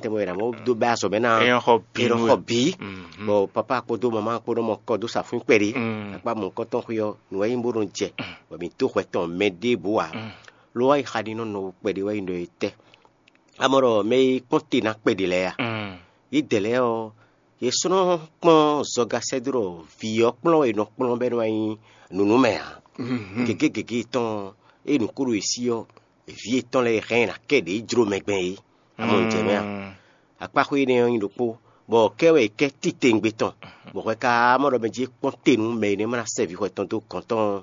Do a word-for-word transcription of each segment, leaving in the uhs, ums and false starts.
tɛnmɛ wɛ ná mɔ dó bɛ azɔ̌ mɛ ná. Ɛ nɔ xɔ bǐ nú xɔ we. Bǐ. Mhm. Bɔ papa kpódó mama kpó nɔ mɔ kɔ dó sa fún kpɛɖé. Mm. Akpá mɔ̌hunkɔtɔn xwé ɔ́, nǔ wɛ nyí bó nɔ jɛ, bɔ mǐ dó hwɛ tɔn mɛ ɖěbǔ ǎ. Mm. Lo wá yi xa ɖi nɔ nɔ kpɛɖé wɛ nyí ɖɔ é tɛ́. Amɔ ɖɔ mɛ e kpɔ́n te ná kpɛɖé lɛ́ɛ a? Mm. Yědɛɛ lɛ́ɛ ɔ́, yě sɔ́ nɔ kpɔ́n zɔga sɛ́ dó ɖɔ vǐ ɔ́ kplɔ́n wɛ è nɔ kplɔ́n bɔ é nɔ wá nyí nǔnúmɛ ǎ. Mhm. Gěgé gěgé tɔn e nǔ ko ɖo yě sí ɔ́, vǐ yětɔn lɛ́ɛ hɛn ná kɛ ɖě jló mɛ gbɛn é. Amɔ un jɛ mɛ a? Mm. Akpáxwé énɛ́ ɔ́ nyí ɖokpó, bɔ kɛ́ wɛ è kɛ́ titewungbe tɔn, bɔ hwɛ ka mɔ ɖɔ mɛ jí é kpɔ́n te nú mɛ e nɛ́ ma ná sɛ́ vǐ hwɛ tɔn dó gɔ̌n tɔn ɔ́.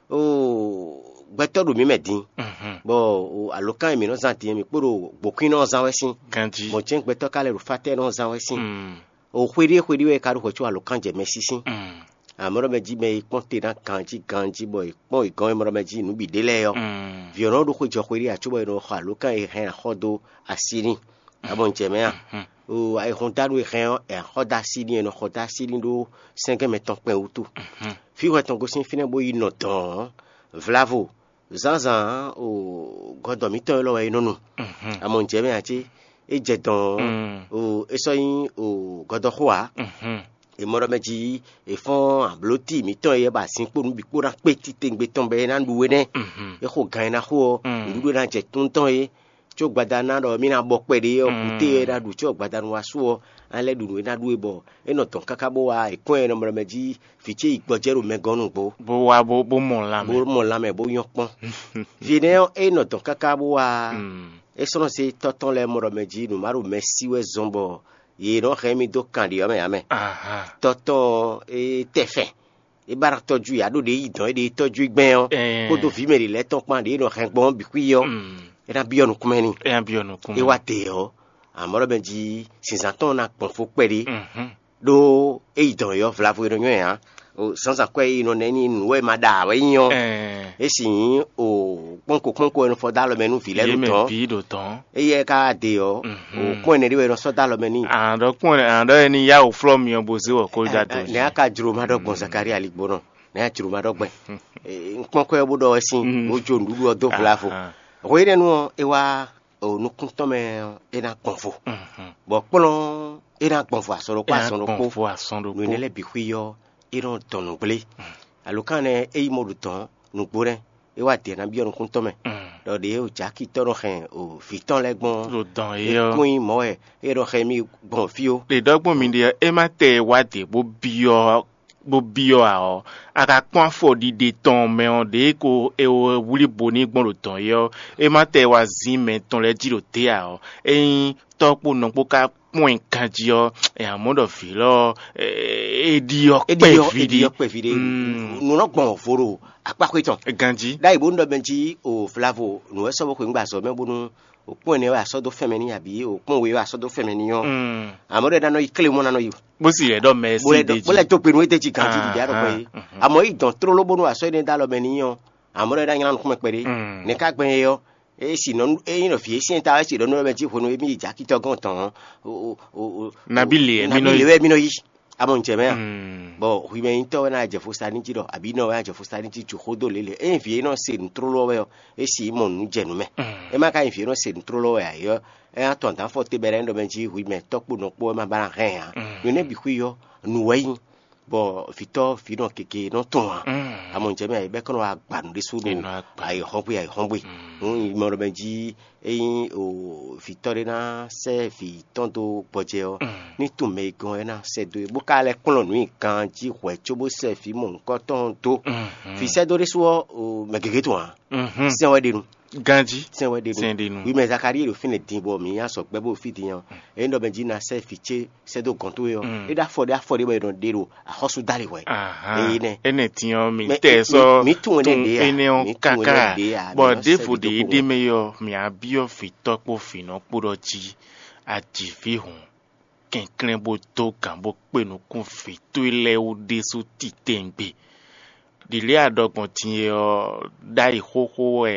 Oo, gbɛtɔ́ ɖo mǐ mɛ din, Mhm. bɔ o alǒkan e mǐ nɔ zán din ɔ́, mǐ kpo ɖo gbǒkwínnɔ ɔ́ zán wɛ sín. Ganjí. Mɔ̌ jɛ́n gbɛtɔ́ ka lɛ́ ɖo fátɛ́nɔ ɔ́ zán wɛ sín. Mm. O xwe ɖé xwe ɖé wɛ è ka ɖo hwɛ có alǒkan jɛ mɛ sísí. Mm. Amɔ̌ ɖɔ mɛ jí mɛ e kpɔ́n te ná ganjí ganjí bɔ è kpɔ́n è gɔ́n e mɔ ɖɔ mɛ jí nǔ bǐ ɖé lɛ́ɛ ɔ́, Mm. vǐ ɔ́ nɔ ɖo xwe jɔ xwe ɖé ǎ cóbɔ è nɔ xɔ alǒkan e hɛn axɔ́ dó así n'i. Abɔ un jɛ mɛ a? Mhm. O ayihɔndánu e hɛn ɔ́, è nǎ xɔ dó así n'i, è nɔ xɔ dó así n'i ɖó sɛ́ngɛ́n mɛtɔn kpɛn wútu. Mhm. Fí hwɛ tɔn gosín fínɛ́ bó yi nɔ dɔ̌n ɔ́, vlavo zǎnzǎn o gɔdɔ mǐtɔn élɔ́ wɛ é nɔ nu. Mhm. Amɔ un jɛ mɛ ǎ cé? É jɛ dɔ̌n ɔ́, Mm. o é sɔ́ nyí o gɔdɔxó ǎ. Mhm. È mɔ ɖɔ mɛ jí è fɔ́n ablóti mǐtɔn e ba sin kpó nǔ bǐ kpó ná kpé titewungbe tɔn bɔ é ná ɖu é nɛ́. Mhm. É xo gan e ná xo ɔ́, Mm. nǔɖuɖu e ná jɛ tún tɔn é, có gbada ná ɖɔ mí ná bɔ kpɛɖé ɔ́, Mm. kúté e ná ɖu có gbadanu wá sú ɔ́, á lɛ́ ɖu nǔ e ná ɖu é bɔ é nɔ dɔn káká bó wá è kɔn ɛ nɔ mɔ ɖɔ mɛ jí vǐ ce yi gbɔjɛ́ ɖo mɛ gɔ́n nǔgbó. Bó wá bó bó mɔ lanmɛ. Bó mɔ lanmɛ bó nyɔ́ kpɔ́n. Vǐ énɛ́ ɔ́, é nɔ dɔn káká bó wá Mm. é sɔ́ nɔ zé tɔ́ tɔn lɛ́ɛ mɔ ɖɔ mɛ jí nǔ má ɖo mɛ sí wɛ zɔn bɔ yě nɔ hɛn mì dó kan ɖě ɔ́ mɛ ǎ mɛ. Aha. Tɔ́ tɔn ɔ́, é tɛ fɛn. É ba ná tɔjú yě, aɖó ɖě yi dɔn é ɖě tɔjú gbɛn ɔ́, Ɛɛ. kpódó vǐ mɛ ɖě lɛ́ɛ tɔn kpán ɖě nɔ hɛn gbɔn ɔ́ bǐ xwí ɔ́, Mm. é ná byɔ́ nukúnmɛ n'i. É ná byɔ́ nukún. É wá te ɔ́, amɔ̌ ɖɔ mɛ jí sǐnzán tɔn ná gbɔn fó kpɛɖé, Mhm. ɖó é yi dɔn yɔ́ vlavo e nɔ nyɔ́ ɛ ǎ. O, zǎnzǎn kwɛ́ e nɔ nɛ́ ní nǔ wɛ ma ɖa wɛ nyí ɔ́, Ɛɛ. é sì nyí o kpɔ́nko kpɔ́nko e nɔ fɔ dó alɔ mɛ nú vǐ lɛ́ɛ Yě ɖo mɛ dɔn. Bǐ ɖo dɔn. Éyɛ́ ka ɖe ɔ́, Mhm. o kpɔ́n ɛnɛ ɖé wɛ nɔ sɔ́ dó alɔ mɛ n'i. Àdɔ kpɔ́n ɛ àdɔ ɛ ni yá wò flɔ́ mi ɔ́ bó zé wɔ kó dá do. Nɛ a ka jló ma ɖɔ gbɔn Zakaria ligbónɔ, nɛ a jló ma ɖɔ gbɛn. N kpɔ́n kɔ ɛ bó ɖɔ wɛ sín, Mm. bó jó nǔɖuɖu ɔ́ dó vlavo. Aha. Hwe énɛ́ nu ɔ́, é wá o nukún tɔn mɛ ɔ́, é ná gbɔn vo. Mhm. Bɔ kplɔ́n é ná gbɔn vo asɔ ɖokpó É ná asɔ ɖokpó. Gbɔn vo asɔ ɖokpó. Nǔ énɛ́ lɛ́ɛ bǐ xwí ɔ́, é nɔ dɔn nǔgblé. Alǒkan nɛ é yi mɔ ɖo dɔn nǔgbó nɛ́, é wá dě ná byɔ́ nukún tɔn mɛ. Mm. Ɖɔ ɖě o jaki tɔn nɔ hɛn o vǐ tɔn lɛ́ɛ gbɔn Ɖo dɔn é é ɔ́. Kún nyí mɔ̌ wɛ é nɔ hɛn mì gbɔn fí ó. Ɖe ɖɔgbɔn mi ɖe ɔ́, é má tɛ wá dě bó byɔ́ bó byɔ́ ǎ ɔ́, a ka kpɔ́n afɔ ɖiɖe tɔn mɛ ɔ́, ɖě ko è wlí bo ní gbɔn ɖo dɔn é ɔ́, é má tɛ wá zín mɛ tɔn lɛ́ɛ jí ɖo té ǎ ɔ́, ényí tɔ́ kpó nɔ kpó ka kpɔ́n ɛ ganjí ɔ́, ɛ amɔ̌ ɖɔ vǐ lɔ ɔ́, é ɖi ɔ́ É ɖi ɔ́, é ɖi kpɛví ɔ́ ɖi. Kpɛví ɖé. Mm. Nǔ nɔ gbɔn vo ɖo akpáxwé tɔn. Ganjí. Ɖ'ayǐ bó nɔ ɖɔ mɛ jí o vlavo nǔ wɛ sɔ́ bó xweyǐngbe azɔ̌ mɛ bónú o kpɔ́n ɛnɛ wɛ a sɔ́ dó fɛn mɛ n'i abǐ o kpɔ́n we wɛ a sɔ́ dó fɛn mɛ n'i ɔ́. Mm. Amɔ̌ ɖɔ é ná nɔ yi klé mɔ ná nɔ yi. Bó sì yɛ ɖɔ mɛ Bó sí lɛ ɖe bó lɛ jí. Dó gbe nú é d'é jí ganjí ɖiɖi aɖɔkpɛ é. Mhm. Amɔ̌ yi dɔn tlóló bónú a sɔ́ énɛ́ dó alɔ mɛ n'i ɔ́, amɔ̌ ɖɔ é ná nylá nukúnmɛ kpɛɖé. Mm. Nɛ̌ ka gbɛn é ɔ́? É si nɔ é nyí nɔ vǐ é syɛ́n ta wɛ si ɖɔ nú mɛ jí hwenu émí yi jǎ kitɔ́ gɔ́n tɔn ɔ́, o- o- o- o- Nabí lě wɛ mí nɔ yi? Lě wɛ mí nɔ yi. Amɔ un jɛ mɛ a? Mm. Bɔ hwi mɛ nyitɔ wɛ ná jɛ fo sa ní jí ɖɔ abǐ nɔ wɛ ná jɛ fo sa ní jí ju xó dó lě lě. Ényí vǐ e nɔ se nǔ tlóló wɛ ɔ́, é si mɔ nǔ jɛ nǔ mɛ. Mm. É má ka nyí vǐ e nɔ se nǔ tlóló wɛ ǎ é ɔ́, é ná tɔn dǎn fɔ te bɛlɛ ɖɔ mɛ jí hwi mɛ tɔ́ kpo nɔ kpó é má ba ná hɛn ǎ. Mm. Nǔ énɛ́ bǐ xwí ɔ́, nǔ wɛ nyí. Bɔ vǐtɔ́ vǐ nɔ gěgé nɔ tɔn ǎ. Mm. Amɔ un jɛ mɛ a yi bɛ́ kɔn nɔ wá gba nǔ ɖésú È nɔ ɖo wá gba. Ayǐhɔ́ngbe ayǐhɔ́ngbe. Mm. Nú mɔ ɖɔ mɛ jí ényí o vǐtɔ́ ɖé ná sɛ́ vǐ tɔn dó gbɔjɛ ɔ́, Mm. ní tunwun mɛ e gɔ́n é ná sɛ́ dó e bó ka lɛ́ kplɔ́n nǔ nyi ganjí hwɛ̌ cóbó sɛ́ vǐ mɔ̌hunkɔtɔn ɔ́ dó. Mhm. Vǐ sɛ́ dó ɖésú ɔ́, o, mɛ gěgé tɔn ǎ. Mhm. Sɛn wɛ ɖe nu. Ganjí. Sɛn wɛ ɖe nu. Sɛn ɖe nu. Wi mɛ Zakarie ɖo fínɛ́ din bɔ mǐ nyi azɔ̌ gbɛ́ bó fí din ɔ́, é nyí ɖɔ mɛ jí ná sɛ́ vǐ ce sɛ́ dó gɔ̌n towe ɔ́, Mm. é ɖó afɔ ɖé afɔ ɖé bɔ è nɔ ɖe ɖo axɔ́súdálihwɛ. Ahan. Eye nɛ. Énɛ́ din ɔ́, mi Mɛ- tɛ mi- sɔ mi tunwun énɛ́ ɖe a? Tunwun énɛ́ ɔ́ Mi tunwun énɛ́ káká. Ɖe a? Mi Bɔ nɔ ɖěvo sɛ́ ɖě ɖokpó é ɖe mɛ. Mɛ ɔ́, mǐ á byɔ́ vǐtɔ́ kpó vǐnɔ kpó ɖɔ jí a ji vǐ hǔn, kɛnklɛ́n bó dó gǎn bó kpé nukún vǐ towe lɛ́ɛ wú ɖésú titewungbe. Ɖǐlí a ɖɔ gbɔn din e ɔ́, ɖ'ayǐ xóxó wɛ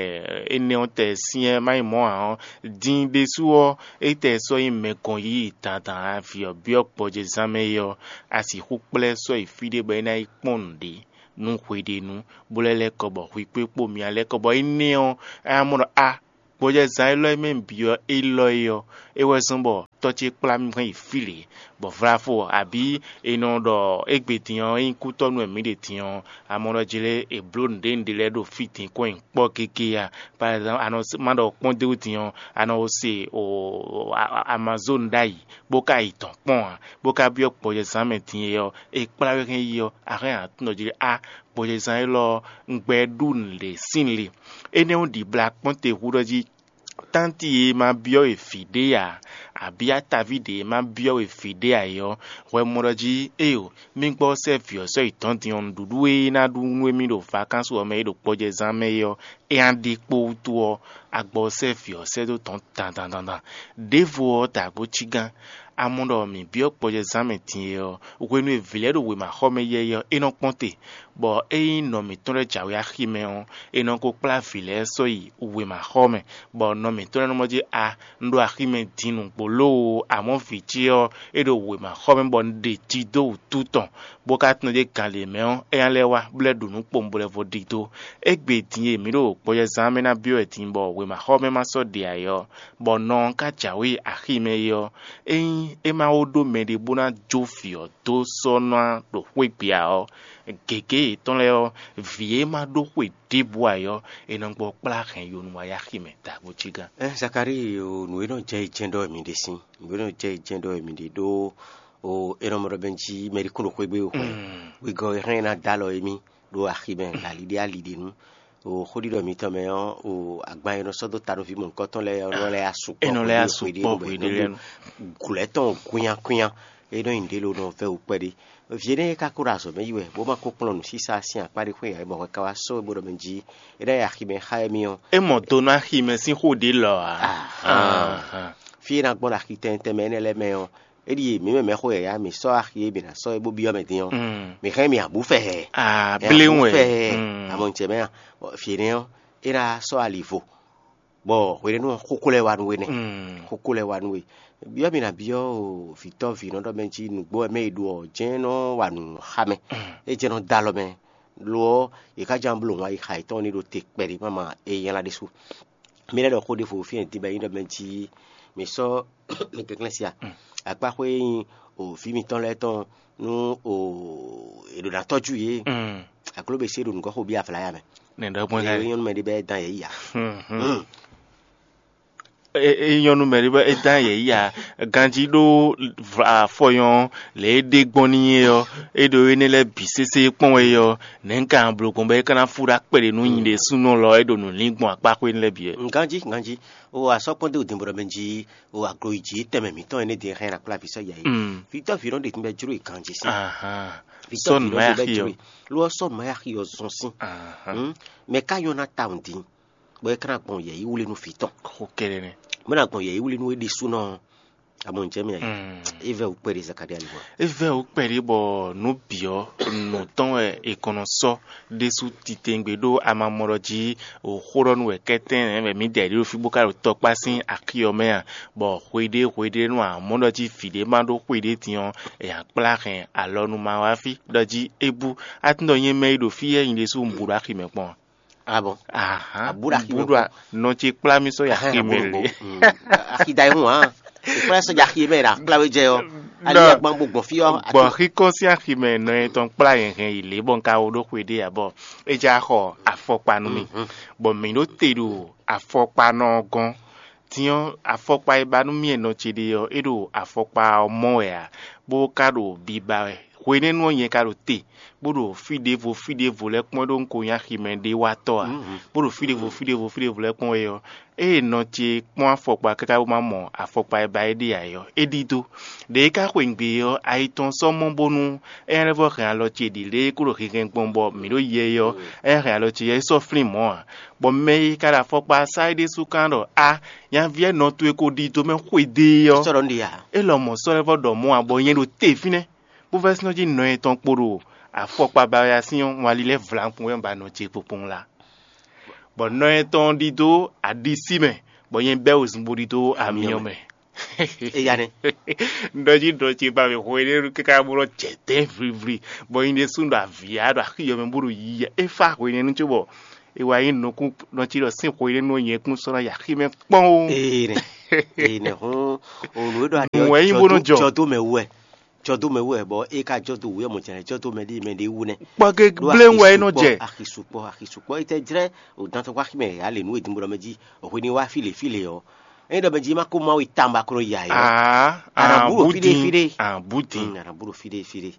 énɛ́ ɔ́ tɛ syɛ́n má nyí mɔ̌ ǎ ɔ́, din ɖésú ɔ́, é tɛ sɔ́ nyí mɛ gɔn yíyí dandan a vǐ ɔ́ byɔ́ gbɔjɛzán mɛ é ɔ́, a sixú kplá ɛ sɔ́ yi fí ɖé bɔ é ná yi kpɔ́n nǔɖé nú hweɖénu, bó lɛ́ lɛ́ kɔ bɔ hwi kpé kpó myá lɛ́ kɔ bɔ énɛ́ ɔ́, é ná mɔ ɖɔ a Gbɔjɛzán élɔ́ e mɛ un byɔ́ élɔ́ é ɔ́, é wɛ zɔ́n bɔ tɔ́ ce kplá mì hɛn yi fí lě, bɔ vlafo abǐ è nɔ ɖɔ égbé din ɔ́, ényí kútɔ́nú wɛ mǐ ɖe din ɔ́, a mɔ ɖɔ jlé è blǒ nǔɖé nǔɖé lɛ́ɛ ɖo fí din kɔn nyi kpɔ́ gégé a? Par exemple, a nɔ má ɖɔ kpɔ́n dó din ɔ́, a nɔ se o Amazone ɖ'ayǐ, bó ka yi dɔ̌n kpɔ́n ǎ, bó ka byɔ́ gbɔjɛzán mɛ din é ɔ́, è kplá we hɛn yi ɔ́, a hɛn aklúnɔ jí ɖɔ á, gbɔjɛzán élɔ́ ɔ́, un gbɛ ɖú nǔɖé sín le. Énɛ́ ɔ́ ɖibla kpɔ́n te hú ɖɔ jí tánti e ma byɔ́ we vǐ ɖé ǎ, abǐ ataví ɖě e ma byɔ́ we vǐ ɖé ǎ é ɔ́, hwɛ mɔ ɖɔ jí éeǒ, mí gbɔ sɛ́ vǐ ɔ́ sɔ́ yi dɔ̌n din ɔ́, nǔɖuɖu e é ná ɖu nú émí ɖo vakánsú ɔ́ mɛ é ɖo gbɔjɛzán mɛ é ɔ́, é ná ɖe kpó wútu ɔ́, a gbɔ sɛ́ vǐ ɔ́ sɛ́ dó dɔ̌n dandan dandan. Đěvo ɔ́, dǎgbó cígán, a mɔ ɖɔ mǐ byɔ́ gbɔjɛzán mɛ din é ɔ́, hwenu e vǐ lɛ́ɛ ɖo wěmaxɔmɛ yɛ́yɛ́ ɔ́, é nɔ kpɔ́n te, bɔ ényí nɔ mǐtɔn lɛ́ɛ jǎwe axi mɛ ɔ́, è nɔ ko kplá vǐ lɛ́ɛ sɔ́ yi wěmaxɔ mɛ, bɔ nɔ mǐtɔn lɛ́ɛ nɔ mɔ jí a, un ɖo axi mɛ din nǔgbó lóo, amɔ̌ vǐ ce ɔ́, é ɖo wěmaxɔ mɛ bɔ un ɖe ji dó wǔtu tɔn, bó ka tunwun ɖě gan lě mɛ ɔ́, é ná lɛ́ wá, bó lɛ́ ɖu nǔ kpowun bó lɛ́ vo ɖidó. Égbé din e mǐ ɖo gbɔjɛzán mɛ ná byɔ́ wɛ din bɔ wěmaxɔ mɛ ma sɔ́ ɖe ǎ é ɔ́, bɔ nɔ ɔ́ ka jǎwe axi mɛ é ɔ́, ényí é ma wó ɖó mɛɖé bó ná jó vǐ ɔ́ dó sɔ́ ná ɖo xwé gbe ǎ ɔ́, gěgé yětɔn lɛ́ɛ ɔ́, vǐ e ma ɖó xwe ɖěbǔ ǎ é ɔ́, è nɔ gbɔ kplá hɛn yo nú wá yi axi mɛ dǎgbó cígán. Ɛ Zakalíi o, nǔ e nɔ jɛ yi jɛ́n ɖɔ wɛ mi ɖe sín, nǔ e nɔ jɛ yi jɛ́n ɖɔ wɛ mi ɖe ɖó o, è nɔ mɔ ɖɔ bɛn jí mɛɖé kún ɖo xwé gbe o xwɛ. Wegɔ́ e hɛn ná dó alɔ émí ɖo axi mɛ ali ɖé ali ɖé nu. O xóɖiɖɔ mitɔn mɛ ɔ́, o agban e nɔ sɔ́ dó ta nú vǐ mɔ̌hunkɔtɔn lɛ́ɛ ɔ́ nɔ lɛ́ asukpɔ. É nɔ lɛ́ asukpɔ hweɖé lɛ́ɛ nu. Gǔlɛ́ tɔn kwínyakwínya, é nɔ nyi nǔɖé lo nɔ vɛ́ wǔ kpɛɖé. Vǐ énɛ́ e ka ko ɖo azɔ̌ mɛ yi wɛ, bó ma ko kplɔ́n nǔsísá sín akpá ɖé xwé ǎ, é mɔ hwɛ ka wá sɔ́ we bó ɖɔ mɛ jí é ná yi axi mɛ xá émí ɔ́. É mɔ do nú axi mɛ sín xó ɖě lɔ ǎ. Ahán. Fí e ná gbɔn ɖo axi tɛntɛn mɛ énɛ́ lɛ́ɛ mɛ ɔ́, é ɖíe mǐ mɛ mɛxó yǎyá mǐ sɔ́ axi e mǐ ná sɔ́ é bó byɔ́ mɛ din ɔ́, mǐ hɛn mǐ abǔ fɛ hɛ. Aa, Mǐ abǔ fɛ hɛ. Amɔ ŋcɛ mɛ a, fǐ énɛ́ ɔ́, é ná sɔ́ ali vo, bɔ hwenɛ́nu ɔ́, xókó lɛ́ɛ wá nú we nɛ́. Xókó lɛ́ɛ wá nú we. Byɔ́ mǐ ná byɔ́ o vǐtɔ́ vǐnɔ ɖɔ mɛ jí nǔgbó wɛ mɛ e ɖo ɔ́ jɛ́n nɔ wa nǔ xá mɛ. É jɛ́n nɔ dó alɔ mɛ. Lo ɔ́, è ká ján bló wǎn yi xa yětɔn ní ɖo te kpɛɖé máma é nylá ɖésú. Mi lɛ́ ɖɔ xó ɖěvo fí e din bɔ é nyí ɖɔ mɛ jí mi sɔ́ mi kɛnklɛ́n sia. Akpáxwé e nyí o vǐ mitɔn lɛ́ɛ tɔn nú o è ɖǒ ná tɔ́jú yě. Akló be se ɖo nǔgɔ́ xo bí avlaya mɛ. Nɛ ɖɔ gbɔn Eye nyɔ́nu mɛ ɖé bɛ dán yě yi a? É nyɔ́nu mɛ ɖé bɔ é dán yě yi a? Ganjí ɖó afɔyɔn lě e ɖe gbɔn n'i é ɔ́, é ɖo énɛ́ lɛ́ɛ bǐ sésé kpɔ́n wɛ é ɔ́, nɛ̌ un ka bló gbɔn bɔ é ka ná fú ɖó akpɛɖé nú nyi ɖésúnɔ lɔ é ɖo nǔ lín gbɔn akpáxwé lɛ́ɛ bǐ wɛ? Ganjí, ganjí. O asɔ́ kpɔ́n dó dǐnbɔɖɔ mɛ jí o aglo yi jǐ tɛnmɛ mǐtɔn énɛ́ din hɛn akpláví sɔ́ ya yi. Vítɔ́ vǐ nɔ ɖe tínbɛ jló yi ganjí sín. Vítɔ́ Sɔ́ vǐ nǔ nɔ ma ɖe yá tínbɛ xí ɔ́. Jló yi. Ló ɔ́ sɔ́ nǔ ma yá xí ɔ́ zɔn sín. Mɛ ká nyɔ́ ná tawun dín, bɔ é ká ná gbɔn yɛ̌yí wlí nú vǐ tɔn. Xó kɛ́ɖɛ́ nɛ́. Bó ná gbɔn yɛ̌yí wlí nú é ɖésúnɔ. Amɔ ǹjẹ́ mi ayǐ. É vɛ́ wǔ kpɛɖé Zakalía lihwan. É vɛ́ wǔ kpɛɖé bɔ nǔ bǐ ɔ́, nǔ tɔn wɛ è kɔn nɔ sɔ́ ɖésú titewungbe ɖó a ma mɔ ɖɔ jí xó ɖɔ nú wɛ kɛ́tɛ́n nɛ̌ wɛ mǐ da yi ɖo fí bó ka ɖo tɔkpá sín axi ɔ́ mɛ a? Bɔ hweɖé hweɖé nú a mɔ ɖɔ jí vǐ ɖé ma ɖó xwe ɖé din ɔ́, è nǎ kplá hɛn alɔnu ma wá fí ɖɔ jí é bú. A tunwun ɖɔ nyɛ mɛ e ɖo fí yɛ́ nyi ɖésú un bu ɖo axi mɛ kpɔ́n a? Abɔ. Ahán. Abúɖo axi mɛ kpɔ́n. Nɔ ce kplá mì sɔ́ yi axi mɛ lě. Axi da ihun hàn. Ìkplá sɔ́ dza axi mɛ ɖa kplá wé jɛ ɔ́. Ali Nɔ- agban bó gbɔn fí ɔ́. Gbɔn xíkɔ sín axi mɛ nɔ e tɔn kplá yɛn hɛn yi lě bɔ un ka wo ɖó xwe ɖé ǎ bɔ é já xɔ afɔkpa nú mì. Bɔ mǐ ɖó te ɖo afɔkpa nɔ ɔ́ gɔ́n. Din ɔ́, afɔkpa e ba nú mì e nɔ ce ɖe ɔ́, é ɖo afɔkpa ɔ́ mɔ wɛ ǎ, bó ka ɖo biba wɛ. Hwenɛ́nu ɔ́, nyɛ ka ɖo te, bó ɖo fí ɖěvo fí ɖěvo lɛ́ɛ kpɔ́n ɖó un ko nyí aximɛ ɖé watɔ́ ǎ, bó ɖo fí ɖěvo fí ɖěvo fí ɖěvo lɛ́ɛ kpɔ́n wɛ ɔ́, ée nɔ ce kpɔ́n afɔkpa káká bó ma mɔ afɔkpa e ba é ɖe ǎ é ɔ́, é ɖidó. Ɖě é ka xweyǐgbe ɔ́, ayi tɔn sɔ́ mɔ bónú é ná lɛ́ vɔ́ hɛn alɔ ce ɖi lě e é kó ɖo hinhɛn gbɔn bɔ mǐ ɖo yɛ é ɔ́, é ná hɛn alɔ ce yɛ é sɔ́ flín mɔ̌ ǎ. Bɔ mɛ e ka ɖo afɔkpa sá é ɖésú kán ɖɔ: A, nyaví ɔ́, nɔ towe ko ɖidó mɛ xwedó é ɔ́, Sɔ́ ɖɔ nú ɖi ǎ. É lɔmɔ̌ sɔ́ lɛ́ vɔ́ ɖɔ mɔ̌ ǎ, bɔ nyɛ ɖo te fínɛ́, bó vɛ́ sínɔ́ jí nɔ etɔn kpo ɖo afɔkpa bayɔ́yá sín ɔ́, wali lɛ́ vlankun wɛ un ba nɔ ce kpokpɔn la. Bɔ nɔ etɔn ɖidó aɖisí mɛ, bɔ nyɛ bɛ́ wezun bo ɖidó amyɔ mɛ. Eya nɛ. Un ɖɔ jí ɖɔ ce ba mɛ hwenɛ́nu káká bó nɔ jɛ dɛ̌n vlivli, bɔ nyɛ ɖésú ɖo avǐ ya ɖo axi yɔ mɛ bó ɖo yiyi. É fá hwenɛ́nu cóbɔ E wá nyí nukún nɔ cí ɖɔ sín xwe ɖé nú nyɛ kún sɔ́ ná yi axi mɛ kpɔ́n ó. Ee nɛ, ee nɛ hɔn, o nǔ e ɖɔ aɖe Nǔ wɛ nyí bó nɔ jɔ. Jɔ dó mɛ wú wɛ, jɔ dó mɛ wú wɛ, bɔ e ka jɔ dó wú wɛ mɔ jɛnɛ jɔ dó mɛ ɖé mɛ ɖé wú nɛ. Kpɔ́ gé Ɖó gblé wɛ é nɔ jɛ. Axi sukpɔ, axi sukpɔ, e tɛ jlɛ o dan tɔn kpó axi mɛ ya le nǔ e din bó ɖɔ mɛ jí, o hwe ní wá fí le fí le ɔ, e ɖɔ mɛ jí ma ko ma yi tamba klo ya yi ɔ. Aa, Ana aa, bú ɖo bú fí ɖé, din, fí ɖé. Aa, bú din. Mm, ana bú ɖo fí ɖé, fí ɖé.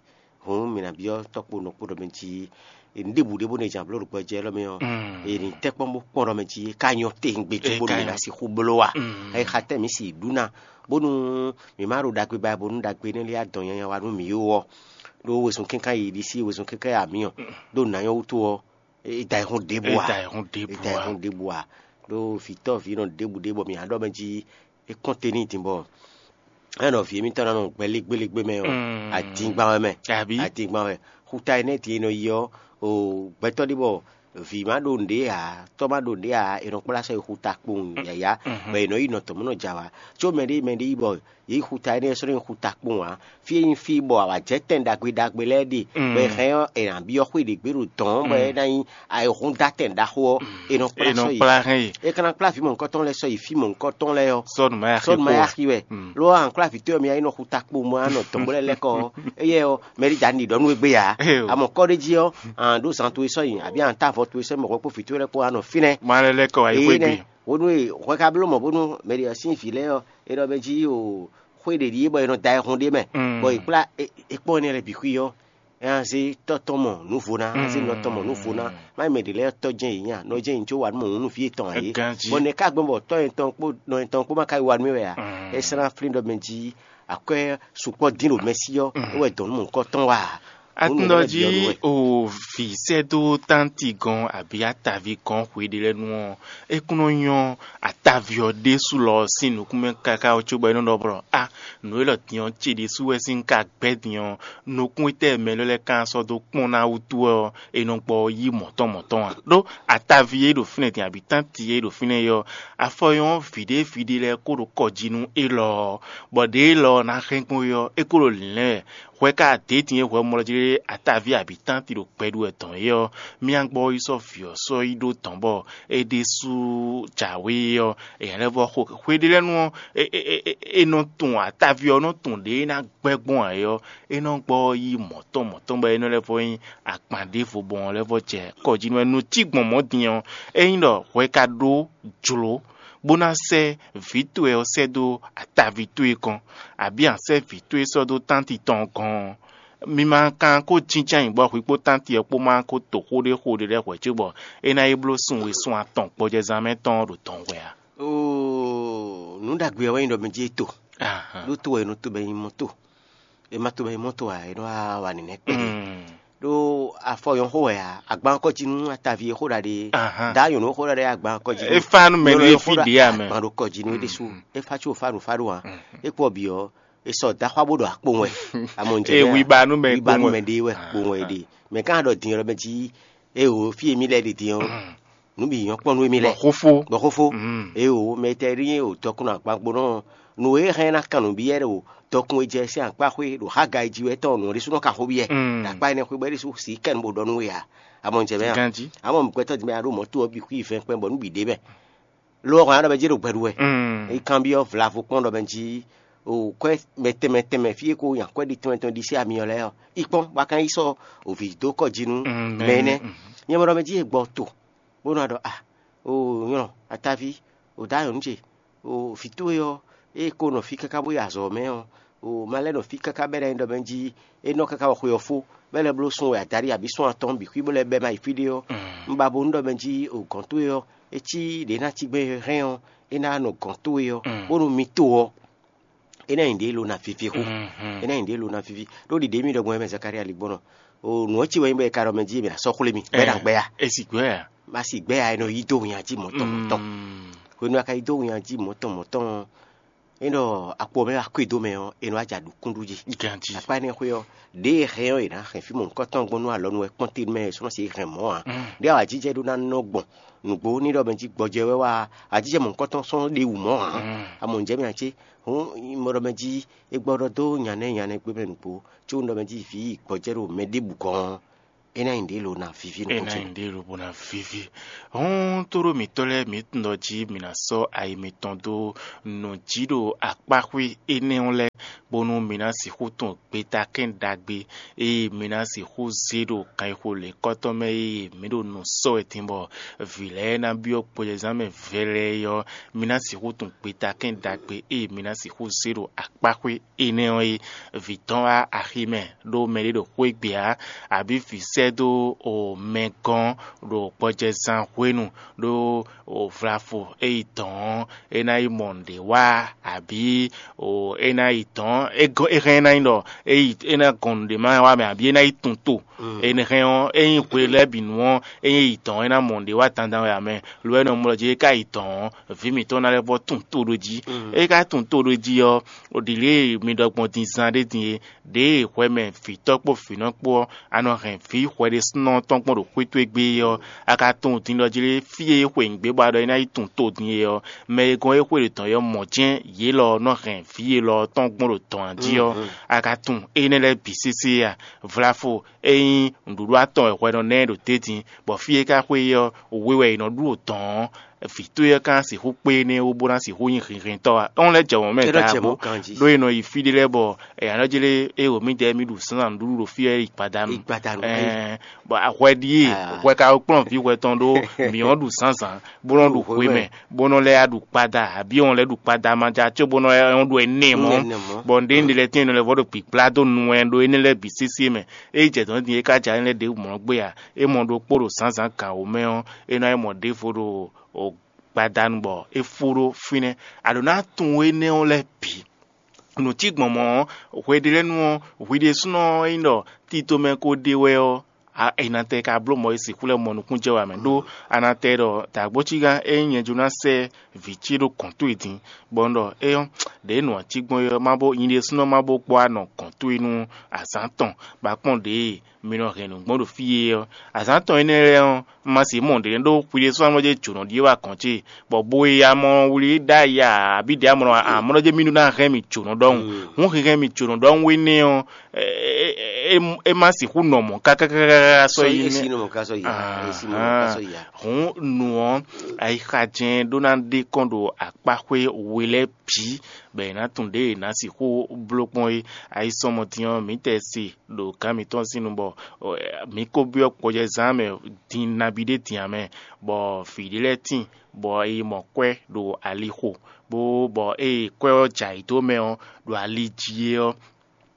Hǔn mǐ ná byɔ́ tɔ́ kpo nɔ kpo ɖɔ mɛ jí nǔɖébu ɖé bó nɔ jɛ abló ɖo gbɔjɛ élɔ́ mɛ ɔ́, è nǐ tɛ́ kpɔ́n bó kpɔ́n ɖɔ mɛ jí é ka nyɔ́ tewungbe cóbónú mǐ ná sixú bló a? Ɛ xa tɛ́ mǐ si ɖu ná, bónú mǐ má ɖo ɖagbe ba bónú ɖagbe énɛ́ lɛ́ɛ adɔn nyanya wa nú mǐ ó ɔ́, ɖó wezun kɛ́nká yi ɖisí wezun kɛ́nká yi amǐ ɔ́, ɖó nǎ nyɔ́ wútu ɔ́, é da ayihún ɖěbǔ a? É da ayihún ɖěbǔ É da a? ayihún ɖěbǔ a? Ɖó vǐtɔ́ vǐ nɔ ɖěbǔ ɖé bɔ mǐ ná ɖɔ mɛ jí é kɔn te n'i din bɔ é nɔ vǐ émítɔn ná nɔ gbɛlígbélégbé mɛ ɔ́, adingban wɛ mɛ. Abǐ? Adingban wɛ. Xuta énɛ́ din e nɔ yi ɔ́, o gbɛtɔ́ ɖé bɔ vǐ má ɖo nǔɖé ǎ, tɔ́ má ɖo nǔɖé ǎ, è nɔ kplá sɔ́ yi xuta kpowun yǎyá, bɔ è nɔ yi nɔ tɔn mɔ̌ nɔ jɛ awǎ. Có mɛɖé mɛɖé yi bɔ yě yi xuta énɛ́ sɔ́ nyi xuta kpowun ǎ. Fí e nyí fí bɔ awǎ jɛ tɛn ɖagbe ɖagbe lɛ́ɛ ɖe, bɔ è hɛn ɔ́, è nǎ byɔ́ xwé ɖě gbe ɖo dɔ̌n, bɔ é ná nyí ayihúndátɛn ɖaxó ɔ́, è nɔ kplá È nɔ sɔ́ yi. kplá hɛn yi. É ka ná kplá vǐ mɔ̌hunkɔtɔn lɛ́ɛ sɔ́ yi fí mɔ̌hunkɔtɔn lɛ́ɛ ɔ́, Sɔ́ nǔ ma yi axi sɔ́ nǔ ma yi kpo. axi wɛ. Lo ɔ́, an kplá vǐ towe ɔ́, mi yá yi nɔ xuta kpo mɔ anɔ dɔn bó lɛ́ lɛ́ kɔ ɔ́, éyɛ́ ɔ́, mɛ ɖé ja ní ɖi ɖɔ nú we gbé ǎ. Eo. A mɔ kɔ́ ɖé jí ɔ́, an ɖó zan towe sɔ́ yi, abǐ an tá avɔ towe sɔ́ yi, mɔ hwɛ kpó vǐ towe lɛ́ɛ kpó anɔ fínɛ́. Ma lɛ́ lɛ́ kɔ wá yi Ee xwé nɛ́, gbe. Bónú e hwɛ ka bló mɔ bónú mɛ ɖě ɔ́ sín vǐ lɛ́ɛ ɔ́, è ɖɔ mɛ jí o xwé ɖě ɖíe bɔ è nɔ da ayihún ɖ'é mɛ, Mm. bɔ è kplá é- é kpɔ́n énɛ́ lɛ́ɛ bǐ xwí ɔ́, é ná zé tɔ́ tɔn mɔ nǔvo ná, é ná zé nɔ tɔn mɔ nǔvo ná. Má nyí mɛ ɖě lɛ́ɛ tɔ́ jɛ́n yě nya, nɔ jɛ́n yě có wa nú mɔ nǔ nú fí yětɔn ǎ é. Ganjí. Bɔ nɛ̌ ká gbɔn bɔ tɔ́ yɛtɔn kpó nɔ yɛtɔn kpó má ka yi wa nú é wɛ ǎ? Mm. É sɛ́ ná flín ɖɔ mɛ jí akwɛ́ sukpɔ́ dín ɖo mɛ sí ɔ́, é wɛ dɔn nú mɔ̌hunkɔtɔn wá ǎ. Atúndɔ jí o vǐ sɛ́ dó tánti gɔn abǐ ataví gɔn xwe ɖé lɛ́ɛ nu ɔ́, é kún nɔ nyɔ́ ataví ɔ́ ɖésú lɔ sín nukún mɛ káká ɔ́ cóbɔ é nɔ ɖɔ blɔ a nǔ élɔ́ din ɔ́ ce ɖésú wɛ sín ka gbɛ́ din ɔ́, nukún étɛ́ mɛ élɔ́ lɛ́ɛ ka sɔ́ dó kpɔ́n ná wútu wɛ ɔ́, è nɔ gbɔ yí mɔ̌tɔn mɔ̌tɔn ǎ. Ɖó ataví e ɖo fínɛ́ din abǐ tánti e ɖo fínɛ́ é ɔ́, afɔ nyɔ́ vǐɖé vǐɖé lɛ́ɛ kó ɖo kɔ jí nú élɔ́ ɔ́, bɔ ɖě élɔ́ ɔ́ ná hɛn gbɔn é ɔ́, é kó ɖo lǐnlɛ́n wɛ. Hwɛ ka dě din e hwɛ mɔ lɔ jí ɖé ataví abǐ tánti ɖo gbɛ ɖu wɛ dɔn é ɔ́, mía gbɔ yi sɔ́ vǐ ɔ́ sɔ́ yi ɖó dɔ̌n bɔ é ɖésú jǎwe ɔ́, èyǎ lɛ́ vɔ xo xwe ɖé lɛ́ɛ nu ɔ́, è nɔ tunwun ataví ɔ́ nɔ tunwun ɖě é ná gbɛ́ gbɔn ǎ é ɔ́, é nɔ gbɔ yí mɔ̌tɔn mɔ̌tɔn bɔ é nɔ lɛ́ vɔ nyí akpan ɖěvo gbɔn ɔ́ lɛ́ vɔ jɛ kɔ jí nú wɛ. Nǔ cí gbɔn mɔ̌ din ɔ́, ényí ɖɔ hwɛ ka ɖó jlǒ bó ná sɛ́ vǐ towe ɔ́ sɛ́ dó ataví towe gɔ́n, abǐ a sɛ́ vǐ towe sɔ́ dó tánti tɔn gɔ́n ɔ́, mi ma kan kó jínjɔ́n ayǐ bɔ hwi kpó tánti ɔ́ kpó ma ko to xó ɖé xo ɖé lɛ́ɛ hwɛ̌ cóbɔ é ná yi bló sun we sun atɔn gbɔjɛzán mɛ tɔn ɔ́ ɖo dɔn hwɛ ǎ. Oo, nǔ ɖagbe ɔ́ wɛ nyí ɖɔ mɛ jí é to. Ahán. Ɖó to wɛ è nɔ to bɔ è nyí mɔ to. È ma to bɔ è nyí mɔ to ǎ, è nɔ wá wa nǐnɛ́ kpɛɖé. Mm. Ɖó afɔ nyɔ̌ xó wɛ ǎ, agban kɔ jí nú ataví e xó ɖaɖe. Ahán. Dǎ nyɔ̌nu xó ɖaɖe agban kɔ jí nú É fa nú mɛ nyɔ̌nu ɖé e xó fí ɖa ɖě ǎ mɛ. Agban ɖo kɔ jí nú é ɖésú. Mm. É fa có fa ɖo fa ɖo ǎ. Mm. É kpɔ bǐ ɔ́, è sɔ daxwa bó ɖo akpowun wɛ. Amɔ ń jɛ Ee, mɛ a? Wiba nú mɛ Wiba nú kpowun wɛ. Mɛ ɖé wɛ kpowun wɛ ɖe. Mɛ gán ɖɔ din ɔ́ mɛ jí, é o fí e mí lɛ́ ɖe din ɔ́, nǔ bǐ nyɔ́ kpɔ́n nú émí lɛ́ɛ. Bɔ xófó. Bɔ xófó. Mm. É o mɛ tɛ ɖí o dɔkun agbagbonɔ nǔ e hɛn ná kan nǔ byɔ́ ɖo dɔkun e jɛ sín akpá xwé ɖo Hagai jí wɛ tɔn nǔ ɖésúnɔ ka xó byɔ́. Mm. Ɖo akpá énɛ́ xwé bɔ é ɖésú sí kɛn bó ɖɔ nú we ǎ. Amɔ ń jɛ mɛ a? Ganjí. Amɔ gbɛtɔ́ din mɛ a ɖo mɔ̌ to ɔ́ bǐ xwí vɛn kpɛn bɔ nú bǐ ɖe mɛ. Lo ɔ́ hɔn a ɖɔ mɛ jí ɖo gbɛ ɖu wɛ. Mm. É kanbyɔ́ vlavo kpɔ́n ɖɔ mɛ jí o kwɛ́ mɛ tɛnmɛ tɛnmɛ fí e ko nya kwɛ́ ɖi tɔn tɔn ɖisí ami ɔ́ lɛ́ɛ ɔ́, yi kpɔ́n bɔ a ka yi sɔ́ o vǐ dó kɔ jí nú Mm, mɛ énɛ́. Mm. Nyɛ mɔ ɖɔ mɛ jí e gbɔ to, bó nɔ ɖɔ a o nyɔlɔ ataví o dǎ nyɔ̌nu ce o vǐ towe ɔ́, ée ko nɔ fí káká bó yi azɔ̌ mɛ ɔ́, o ma lɛ́ nɔ fí káká bɛ́ ná nyí ɖɔ mɛ jí é nɔ káká wɔ xwe ɔ́ fó, bɛ́ lɛ́ bló sun wɛ adaɖí abǐ sun atɔn bǐ xwí bó lɛ́ bɛ́ má yi fí ɖé ɔ́, Mm. un ba bo nú ɖɔ mɛ jí o gɔ̌n towe ɔ́, é cí ɖě ná cí gbɛn hɛn ɔ́, é ná nɔ gɔ̌n towe ɔ́, Mm. bónú mi to ɔ́, é ná nyi ɖě lo ná vivi xó. Mhm. É ná nyi ɖě lo ná vivi. Ɖó ɖiɖě mi ɖɔ gbɔn mɛ Zakaria ligbɔnɔ. O nǔ ɔ́ ci wɛ nyí bɔ è ka ɖɔ mɛ jí mɛ asɔ xwlé mi. Bɛ́ ná gbɛ ya. É sì gbɛ ya. Má sì gbɛ ya, è nɔ yí dó win ají mɔ̌tɔn mɔ̌tɔn. Mm. Hwenu a ka yí dó win ají mɔ̌tɔn mɔ̌tɔn ɔ́, é ɖɔ akpo mɛ wá kó e dó mɛ ɔ́, è nɔ wá jɛ aɖǔkúndú jí. Ganjí. Akpá énɛ́ xwé ɔ́, ɖěe hɛn ɔ́, è nǎ hɛn fí mɔ̌hunkɔtɔn gbɔn nú alɔnu wɛ kpɔ́n te mɛ è sɔ́ nɔ se hɛn mɔ̌ ǎ. Mm. Ɖé awǎjijɛ ɖó ná nɔ gbɔn nǔgbó ní ɖɔ mɛ jí gbɔjɛ wɛ wá, awǎjijɛ mɔ̌hunkɔtɔn sɔ́ ɖe wǔ mɔ̌ ǎ. Mm. Amɔ ǹjẹ́ mi ǎ cé? Hǔn mɔ ɖɔ mɛ jí é gbɔ ɖɔ dó nya nɛ́ nya nɛ́ gbé mɛ nǔgbó, có un ɖɔ mɛ jí vǐ gbɔjɛ́ ɖo mɛ ɖěbǔ gɔ́n ɔ́, É ná nyí nǔɖé lo ná víví É nukún ná ce. Nyí nǔɖé lo bó ná víví. Hɔn, tóɖó mǐtɔn lɛ́ɛ, mǐ tunwun ɖɔ jí mǐ ná sɔ́ ayi mitɔn dó nǔ jí ɖo akpáxwé énɛ́ ɔ́ lɛ́ɛ, bónú mǐ ná sixú tunwun gbeta kɛ́n ɖagbe e mǐ ná sixú zé ɖo kanxixo lěkɔ́tɔn mɛ e mǐ ɖo nǔ sɔ́ wɛ din bɔ vǐ lɛ́ɛ ná byɔ́ gbɔjɛzán mɛ vɛlɛɛ é ɔ́, mǐ ná sixú tunwun gbeta kɛ́n ɖagbe e mǐ ná sixú zé ɖo akpáxwé énɛ́ ɔ́ é. Vǐ tɔn wá axi mɛ ɖó mɛɖé ɖo xwé gbe ǎ, abǐ vǐ sɛ́ dó o mɛ gɔ́n ɖo gbɔjɛzán hwenu ɖó o vlafo e yi dɔ̌n ɔ́, é ná yi mɔ nǔɖé wa, abǐ o é ná yi dɔ̌n é gɔ́ é hɛn é ná nyí ɖɔ é yi é ná gɔn nǔɖé ma wa mɛ, abǐ é ná yi tun to. Énɛ́ hɛn ɔ́, ényí hwe lɛ́ɛ bǐ nu ɔ́, ényí é yi dɔ̌n é ná mɔ nǔɖé wa dandan wɛ ǎ mɛ. Lo énɛ́ ɔ́, mlɔ jí é ka yi dɔ̌n ɔ́, vǐ mǐtɔn ná lɛ́ vɔ́ tun to ɖó jí. É ka tun to ɖó jí ɔ́, ɖǐ lě e mi ɖɔ gbɔn din zan ɖé din é, ɖěe hwɛ mɛ vǐtɔ́ kpó vǐnɔ kpó ɔ́, a nɔ hɛn vǐ hwɛɖésúnɔ tɔn gbɔn ɖo xwé towe gbé é ɔ́, a ka tunwun din ɖɔ jí lé fí e é xwe nǔgbé bɔ a ɖɔ é ná yi tun to din é ɔ́, mɛ e gɔ́n é xwe ɖě tɔn é ɔ́ mɔ̌ jɛ́n yě lɔ ɔ́ nɔ hɛn vǐ élɔ́ ɔ́ tɔn gbɔn ɖo dɔ̌n jí ɔ́, a ka tunwun énɛ́ lɛ́ɛ bǐ sésé a? Vlafo, ényí nǔɖuɖu atɔn wɛ hwɛ nɔ ná ɛ ɖo tɛ́ntin, bɔ fí e ka xwe é ɔ́, we wɛ è nɔ ɖu ɖo dɔ̌n ɔ́, vǐ towe ɔ́ ka ná sixú kpé énɛ́ wú bó ná sixú nyí hinhɛntɔ́ a? É wɔn lɛ́ jɛ wɔ̌n mɛ Éɖɔ jɛ daabo, mɔ̌ ganjí. Ɖó è nɔ yi fí ɖé lɛ́ɛ bɔ è nǎ nɔ jlé é wǒ mǐdɛɛ mì ɖu zǎnzǎn nǔɖuɖu ɖo fí ɔ́ yi gbada nu. Gbada nu, Ɛɛ, bɔ ahwɛ ɖíe Ah. hwɛ ka kplɔ́n vǐ hwɛ tɔn ɖó mǐ ɔ́ ɖu zǎnzǎn, bó nɔ ɖu Ɖu hwe hwe mɛ, mɛ. bó nɔ lɛ́ ɖu kpada, abǐ wɔn lɛ́ ɖu kpada ma ja có bó nɔ ɖu ɛnɛ mɔ. Nɛ, nɛ mɔ. Bɔ nǔɖé nǔɖé lɛ́ɛ tɛ́n nɔ lɛ́ vɔ ɖo gbǐgbla dó nu wɛ ɖó énɛ́ lɛ́ɛ bǐ sésé mɛ. Ényí jɛ dɔ̌n din é ka ja énɛ́ ɖěbǔ mlɔ́ gbé a? É mɔ ɖokpó ɖo zǎnzǎn gǎn wǒ mɛ ɔ́, é ná yi mɔ ɖěvo ɖo o gbadanu bɔ é fó ɖó fínɛ́. A ɖǒ ná tunwun énɛ́ ɔ́ lɛ́ɛ bǐ. Nǔ cí gbɔn mɔ̌ ɔ́, hwe ɖé lɛ́ɛ nu ɔ́, hwi ɖésúnɔ ɔ́ nyí ɖɔ tito mɛ ko ɖe wɛ ɔ́, a è nǎ tɛ ka bló mɔ̌ e sixú lɛ́ mɔ nukúnnú jɛ wɛ mɛ ɖó a nǎ tɛ ɖɔ dǎgbócígán ényí nyɛ jó ná sɛ́ vǐ ce ɖo gɔ̌n towe din, bɔ un ɖɔ éyɔ́, ɖěe nǔ ɔ́ cí gbɔn é ɔ́, má bó nyi ɖésúnɔ má bó gbɔ anɔ gɔ̌n towe nú azǎn tɔn, bɔ a kpɔ́n ɖěe mi nɔ hɛn nǔ gbɔn ɖo fí é ɔ́. Azǎn tɔn énɛ́ lɛ́ɛ ɔ́, un ma sixú mɔ nǔɖé ɖó hwi ɖésú amlɔ jɛ jǒnɔ ɖíe wá gɔ̌n ce, bɔ bo e amɔ wlí ɖ'ayǐ ǎ, abǐ ɖě amlɔ amlɔ jɛ mì ɖó ná hɛn mì jǒnɔ ɖɔhun. Hǔn hɛn mì jǒnɔ ɖɔhun énɛ́ ɔ́, é má sixú nɔ mɔ̌ kákákáká sɔ́ Sɔ́ yi é nɛ́. sí nɔ mɔ̌ ká sɔ́ yi ǎ. É sí nɔ mɔ̌ ká sɔ́ yi ǎ. Hǔn nǔ ɔ́, ayixa jɛ́n ɖó ná ɖe kɔn ɖo akpáxwé we lɛ́ɛ bǐ, bɔ è nǎ tunwun ɖěe è nǎ sixú bló kpɔ́n é. Ayisɔmɔtin ɔ́, mǐ tɛ se ɖo gǎn mǐtɔn sín nu bɔ mǐ ko byɔ́ gbɔjɛzán mɛ din nabí ɖé din ǎ mɛ, bɔ vǐ ɖé lɛ́ɛ tíin, bɔ è yi mɔ kwɛ́ ɖo ali xo, bó bɔ ée kwɛ́ ɔ́ jɛ ayǐ dó mɛ ɔ́, ɖo ali jí é ɔ́,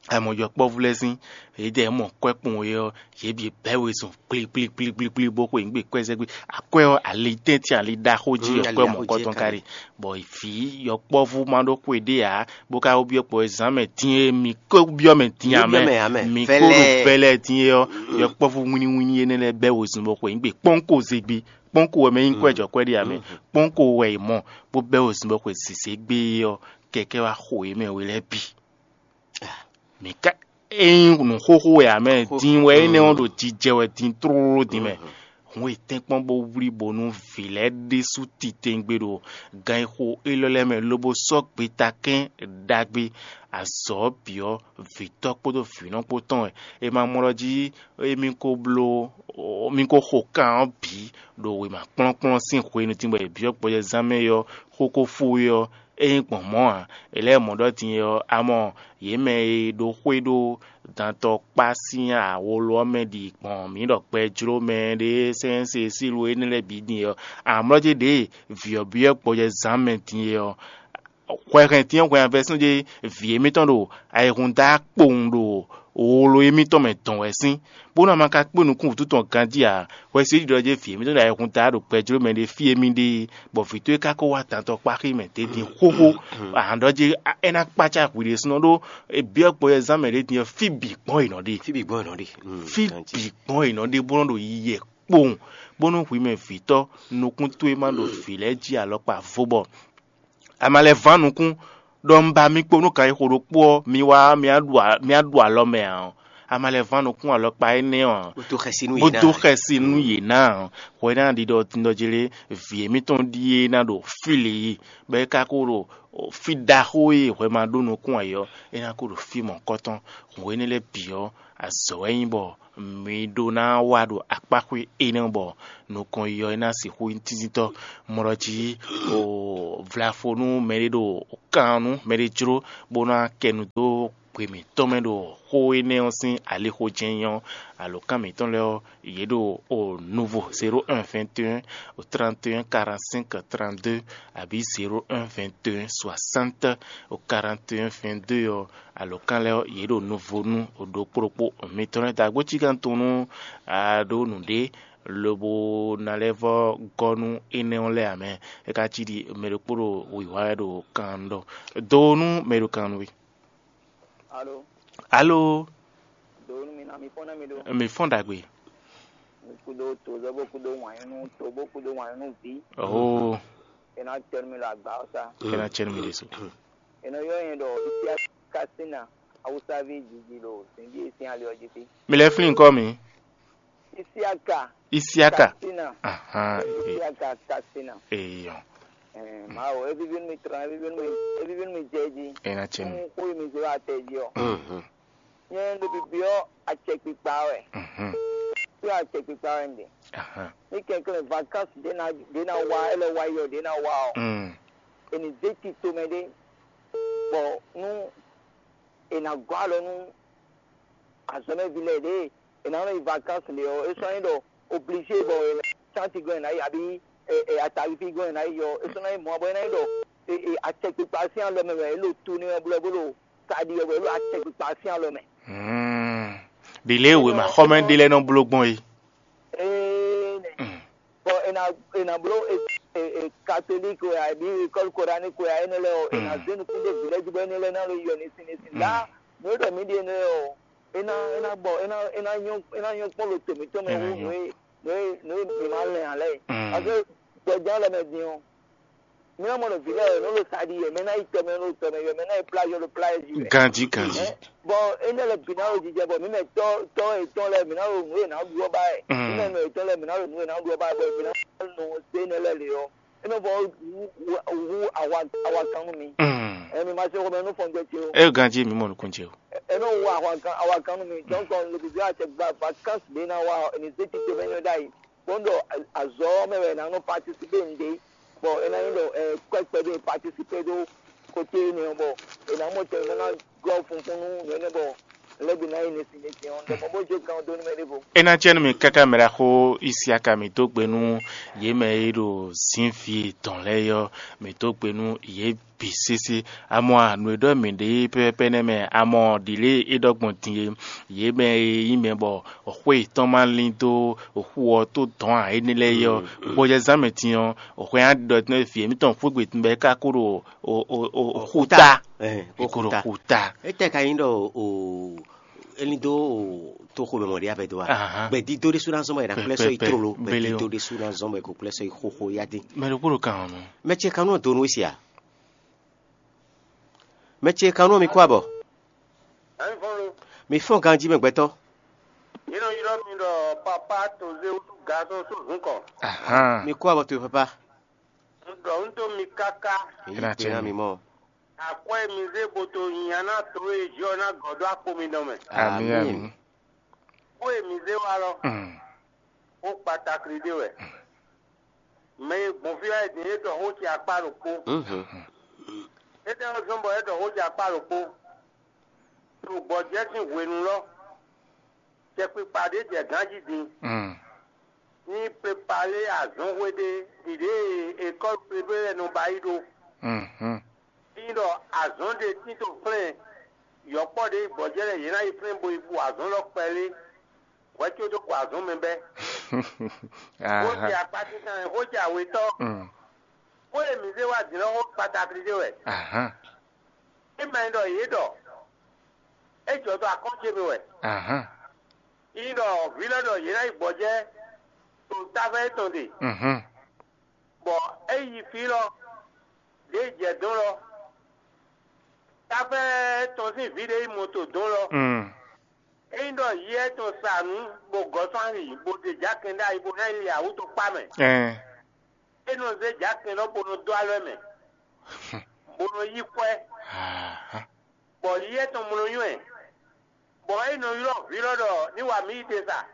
a mɔ yɔkpɔ́vú lɛ́ɛ sín, yědɛɛ mɔ kwɛ́ kpɔn é ɔ́, yě bǐ bɛ́ wezun kplíkplíkplíkplí bó xwe nǔ gbe kwɛ́ zɛ́ gbé. Akwɛ́ ɔ́, ali tɛ́ntin ali ɖaxó jí Mm, ali wɛ mɔ ɖaxó kwɛ́ jí tɔn ka ka ɖe. Bɔ vǐ yɔkpɔ́vú ma ɖó xwe ɖé ǎ, bó ka wó byɔ́ kpɔ e zǎn mɛ din e mi ko byɔ́ mɛ din Mi ǎ mɛ, byɔ́ mɛ ǎ mɛ. mi ko ɖo Vɛlɛɛ. vɛlɛɛ din é ɔ́, yɔkpɔ́vú wínníwínní énɛ́ lɛ́ɛ bɛ́ wezun bó xwe nǔ gbe kpɔ́nko zé gbé. Kpɔ́nko wɛ mɛ nyí kwɛ́ jɔ kwɛ́ ɖé ǎ mɛ. Kpɔ́nko wɛ è mɔ bó bɛ́ wezun bó xwe zǐzé gbé é ɔ́, kɛkɛ́ wá xo yě mɛ we lɛ́ɛ bǐ. Mǐ ka ényí nǔ xóxó wɛ ǎ mɛ, Xóxó. din wɛ énɛ́ ɔ́ ɖo jijɛ wɛ din tlóló din mɛ. Hǔn è tɛ́nkpɔ́n bó wlí bónú vǐ lɛ́ɛ ɖésú titewungbe ɖo gan e xo élɔ́ lɛ́ɛ mɛ lobo sɔ́ gbeta kɛ́n ɖagbe azɔ̌ ɔ́ bǐ ɔ́, vǐtɔ́ kpódó vǐnɔ kpó tɔn wɛ. È ma mɔ ɖɔ jí émí ko bló mí ko xo kan ɔ́ bǐ ɖo wěma kplɔ́nkplɔ́n sín hwenu din bɔ è byɔ́ gbɔjɛzán mɛ é ɔ́, xó ko fó é ɔ́, é nyí gbɔn mɔ̌ ǎ. È lɛ́ mɔ ɖɔ din é ɔ́, a mɔ yě mɛ e ɖo xwé ɖó dantɔ kpá sín awolo ɔ́ mɛ ɖi gbɔn mǐ ɖɔ gbɛ jló mɛ ɖé sɛ́nsɛ́ sílu énɛ́ lɛ́ɛ bǐ din é ɔ́, amlɔ́ ce ɖěe vǐ ɔ́ byɔ́ gbɔjɛzán mɛ din é ɔ́, hwɛ hɛn din ɔ́ hwɛ avɛsún ce vǐ émítɔn ɖo ayihún da kpowun ɖo wolo émítɔn mɛ dɔn wɛ sín, bónú a ma ka kpé nukún wǔtu tɔn ganjí ǎ, hwɛ se ɖiɖɔ ce vǐ émítɔn ɖo ayihún da ɖo gbɛjló mɛ ɖé fí émí ɖe, bɔ vǐ towe ka ko wá dantɔ kpáxí mɛ dě din xóxó. Ahan ɖɔ ce é ná kpácá hwi ɖésúnɔ ɖó, byɔ́ gbɔjɛzán mɛ ɖě din ɔ́, fí bǐ gbɔn è nɔ ɖe. Fí bǐ gbɔn è nɔ ɖe. Mm, Fí ganjí. bǐ gbɔn è nɔ ɖe bó nɔ ɖo yiyɛ kpowun, bónú hwi mɛ vǐtɔ́ nukún towe ma ɖo vǐ lɛ́ɛ jí alɔkpa vo bɔ a ma lɛ́ ván nukún ɖɔ un ba mi kpo nú kan e xo ɖokpó ɔ́, mi wá mì á ɖu a- mì á ɖu alɔ mɛ ǎ ɔ́, a ma lɛ́ ván nukún alɔkpa énɛ́ ɔ́ ǎ, bó dó xɛsi nú yě ná. Bó dó xɛsi nú yě ná ǎ. Hwɛ ná ɖiɖɔ tindɔjlé vǐ émítɔn ɖíe ná ɖo fí lě yi, bɔ é ka ko ɖo fí ɖaxó e hwɛ ma ɖó nukún ǎ é ɔ́, é ná ko ɖo fí mɔ̌kɔtɔn. Hwenu énɛ́ lɛ́ɛ bǐ ɔ́, azɔ̌ wɛ nyí bɔ mi ɖó ná wa ɖo akpáxwé énɛ́ bɔ nukɔn yi ɔ́, é ná sixú nyí tíntíntɔ́. Mɔ ɖɔ jí o vlafo nú mɛɖé ɖo kan nú mɛɖé jló bó ná kɛ nu dó gbe mǐtɔn mɛ ɖo xó énɛ́ ɔ́ sín alixo jɛ́n nyí ɔ́, alǒkan mǐtɔn lɛ́ɛ ɔ́, yě ɖo o nuvo zéro un vingt et un o trente et un quarante-cinq trente-deux abǐ zéro un vingt et un soixante o quarante et un vingt-deux ɔ́, alǒkan lɛ́ɛ ɔ́, yě ɖo nuvo nú o ɖokpó ɖokpó mitɔn lɛ́ɛ. Dǎgbó cí gán tunwun nú a ɖó nǔɖé lobo ná lɛ́ vɔ́ gɔ́ nú énɛ́ ɔ́ lɛ́ɛ ǎ mɛ. É ka cí ɖi mɛ ɖokpó ɖo wǐwá wɛ ɖo kan ɖɔ do nú mɛ ɖo kan nú we. Alo, Alo, do nú mi ná mi fɔ́n ná mi ɖó. Mi fɔ́n ɖagbe. Mi kúdó tozɔ́ bó kúdó wǎnyú nú to bó kúdó wǎnyú nú vǐ. Oh, É ná tɛ́ nú mi ɖo agba ɔ́ sá. É ná cɛ nú mi ɖésú. È nɔ ylɔ́ nyɛ ɖɔ Isiaka Kasina, Awusaví jiji ɖo zǐnjí e sín ali ɔ́ jí fí. Mi lɛ́ flín kɔ́ mi. Isiaka Isiaka. Kasina. Ahan. Isiaka Kasina. Eyɔn. Ɛɛ, Mawu, evivi nú mi trɔn, evivi nú mi, evivi nú mi jɛ jí. É ná cɛ nú. Fún xó e mi zé wá tɛ jí ɔ́. Mhm. Nyɛ ɖo bibyɔ́ acɛkpikpa wɛ. Mhm. Byɔ́ acɛkpikpa wɛ un ɖe. Ahan. Ní kɛnklɛ́n vacances ɖě ná ɖě ná wá, é lɛ́ wá yi ɔ́, ɖě ná wá ɔ́, Mm. è nǐ zé tito mɛ ɖé, bɔ nú è nǎ gɔ́ alɔ nú azɔ̌mɛví lɛ́ɛ ɖě è nǎ nɔ yi vacances ɖe ɔ́, é sɔ́ nyí ɖɔ obligé bɔ è nǎ sánti gɔ́n è nǎ yi abǐ ɛ, ɛ, atalifi gɔ́n è nǎ yi ɔ́, é sɔ́ ná nyí mɔ̌ ɔ́, bɔ é ná nyí ɖɔ ɛ, ɛ, acɛkpikpa sín alɔ mɛ wɛ é ɖo tu n'i wɛ blɔ bó ɖo taɖi wɛ bɔ é ɖo acɛkpikpa sín alɔ mɛ. Hmm. Ɖi lě e wěma xɔmɛ ɖé lɛ́ɛ nɔ bló gbɔn é. Ee nɛ. Hmm. Bɔ è nǎ è nǎ bló e, e, e, katolík wɛ abǐ école coranique wɛ énɛ́ lɛ́ɛ ɔ́, è nǎ Hmm. zé nukún ɖó vǐ lɛ́ɛ jí bɔ énɛ́ lɛ́ɛ ná ló yɔ ní sín ní sín. Hmm. Lá nǔ e ɖɔ mǐ ɖe énɛ́ ɔ́, é ná é ná gbɔ é ná é ná nyɔ́ é ná nyɔ́ kpɔ́n ɖo to mǐtɔn mɛ É ná wú nyɔ́. nǔ e nǔ e nǔ e mǐ ma lɛn ǎ lɛ́ɛ. Mm. Parce que gbɔjɛ́ lɛ́ɛ mɛ din ɔ́, mǐ ná mɔ ɖo vǐ lɛ́ɛ wɛ nǔ ɖo sa ɖi wɛ, mɛ ná yi tɔ mɛ ɖo tɔ mɛ wɛ, mɛ ná yi plá yɔ ɖo plá yɛ jí wɛ. Ganjí, ganjí. Ɛ, bɔ énɛ́ lɛ́ɛ bǐ ná ɖo jijɛ bɔ mǐ mɛ tɔ́ tɔ́ yětɔn lɛ́ɛ mǐ ná ɖo nǔ e nǎ ɖu ɔ́ ba wɛ. Mm. Mǐ mɛ nɔ yětɔn lɛ́ɛ mǐ ná ɖo nǔ e nǎ ɖu ɔ́ ba wɛ, bɔ mǐ ná nɔ se énɛ́ lɛ́ɛ lě ɔ́, é nɔ vɔ hú hú awa awa kan nú mi. Mm. Ɛ mi ma se xɔmɛ nú fɔngbɛ ce o. É ganjí mi mɔ nukún ce o. Ɛ nɔ hú awa kan awa kan nú mi. Donc le bébé a tɛ gba vacances ɖé ná wa ɔ, è nǐ zé tito mɛ nyɔ ɖ'ayǐ. Kpɔ́n ɖɔ azɔ̌ ɔ́ mɛ wɛ è nǎ nɔ participer nǔɖé, bɔ é ná nyí ɖɔ ɛ kwɛ́ kpɛɖé participer ɖó côté énɛ́ ɔ́, bɔ è nǎ mɔ tɛn bó ná gɔ́ funfun nú nǔ énɛ́ bɔ lɛ́ bǐ ná yi nɛsin nɛsin ɔ́, ɖɔ mɔ bó jó kan ɔ́ dó nú mɛ ɖěvo. É ná jɛ nú mi káká mɛ ɖaxó Isiaka mǐ dó gbe nú yě mɛ e ɖo zǐnví tɔn lɛ́ɛ é ɔ́, mǐ dó gbe nú yě bǐ sésé. Amɔ nǔ e ɖɔ mǐ ɖe pɛ́pɛ́pɛ́ nɛ́ mɛ, amɔ ɖǐlée é ɖɔ gbɔn din é, yě mɛ e nyí mɛ bɔ xwé yětɔn ma lín dó xu ɔ́ tó dɔ̌n ǎ énɛ́ lɛ́ɛ é ɔ́, gbɔjɛzán mɛ din ɔ́, xwé nya ɖɔ tɛ́nɛ́ vǐ émítɔn xwé gbe bɔ é ka kó ɖo o- o- o- xúta. Ɛ, È kó ɖo xúta. Xúta. Étɛ́ ka nyí ɖɔ o é ní dó o tó xomɛ mɔ̌ ɖé abɛ dó a? Ahan. Gbɛdídó ɖésú ná zɔn bɔ è nǎ kplɛ́ sɔ́ yi Pɛpɛpɛ. Tlóló, Bele gbɛdídó ɔ́. Ɖésú ná zɔn bɔ è ko kplɛ́ sɔ́ yi xóxó yá dín. Mɛ ɖokpó ɖo kan ɔ́ nɔ. Mɛ ce kanú ɔ́ donu wé sia? Mɛ ce kanú ɔ́ mi kó abɔ? Ɛnvɔnlo. Mi fɔ́n ganjí mɛ gbɛtɔ́. Yě nɔ ylɔ́ mi ɖɔ papá tozé wútu gazɔn tó zǔn kɔ. Ahan. Mi kó abɔ towe papa. Un ɖɔ un dó mi káká. Èyí Ina pé ná cɛ mi mi. Mɔ. Akwɛ́ mi zé bo to nya ná to e jɔ ná gɔ̌ ɖó akpo mi dɔn mɛ. Ami, Ami. Ami. Xó e mi zé wá lɔ, Mm. xó kpatakli ɖé wɛ. Mɛ e gbɔn fí wá é din é ɖɔ xó ce akpá ɖokpó. Mhm. Étɛ́ ɔ́ zɔ́n bɔ é ɖɔ xó ce akpá ɖokpó? To gbɔjɛ́ sín hwenu lɔ, cɛkpikpa ɖé jɛ gán jí din. Mm. Ní prepare azɔ̌nxwé ɖé ɖiɖě e école privée lɛ́ɛ nɔ ba yi ɖó. Mhm. Ní ɖɔ azɔ̌ ɖé tito flɛ́n yɔ̌kpɔ́ ɖé yi gbɔjɛ́ lɛ́ɛ yě ná yi flɛ́n bo yi bu azɔ̌ lɔ kpɛlé. Hwɛ có dó gbɔ azɔ̌ mɛ bɛ́. Xó ce Aha. akpá tíntan wɛ, xó ce awetɔ́. Mm. Xó e mǐ zé wá din lɔ xó kpatakli ɖé wɛ. Aha. É ma nyí ɖɔ yě ɖɔ é jɔ dó akɔ́n ce mɛ wɛ. Aha. Nyí ɖɔ vǐ lɔ ɖɔ yě ná yi gbɔjɛ́ to táfɛ́ étɔn ɖe, Mhm. bɔ é yi fí lɔ ɖě jɛ dɔn lɔ. Táfɛ́ tɔn sín vǐ ɖé yi mɔ to dɔn lɔ. Mm. É Ényí ɖɔ yɛ tɔn sa nǔ bó gɔ́ sɔ́ ali, bó ɖe jǎkɛn ɖ'ayǐ bó ná yi li awǔ tɔn kpá mɛ. Ɛn. É nɔ zé jǎkɛn lɔ bó nɔ dó alɔ mɛ, bó nɔ yí kwɛ́, bɔ yɛ tɔn mlɔ nywɛ́, bɔ é nɔ ylɔ́ vǐ lɔ ɖɔ ní wa mǐ yi te sa,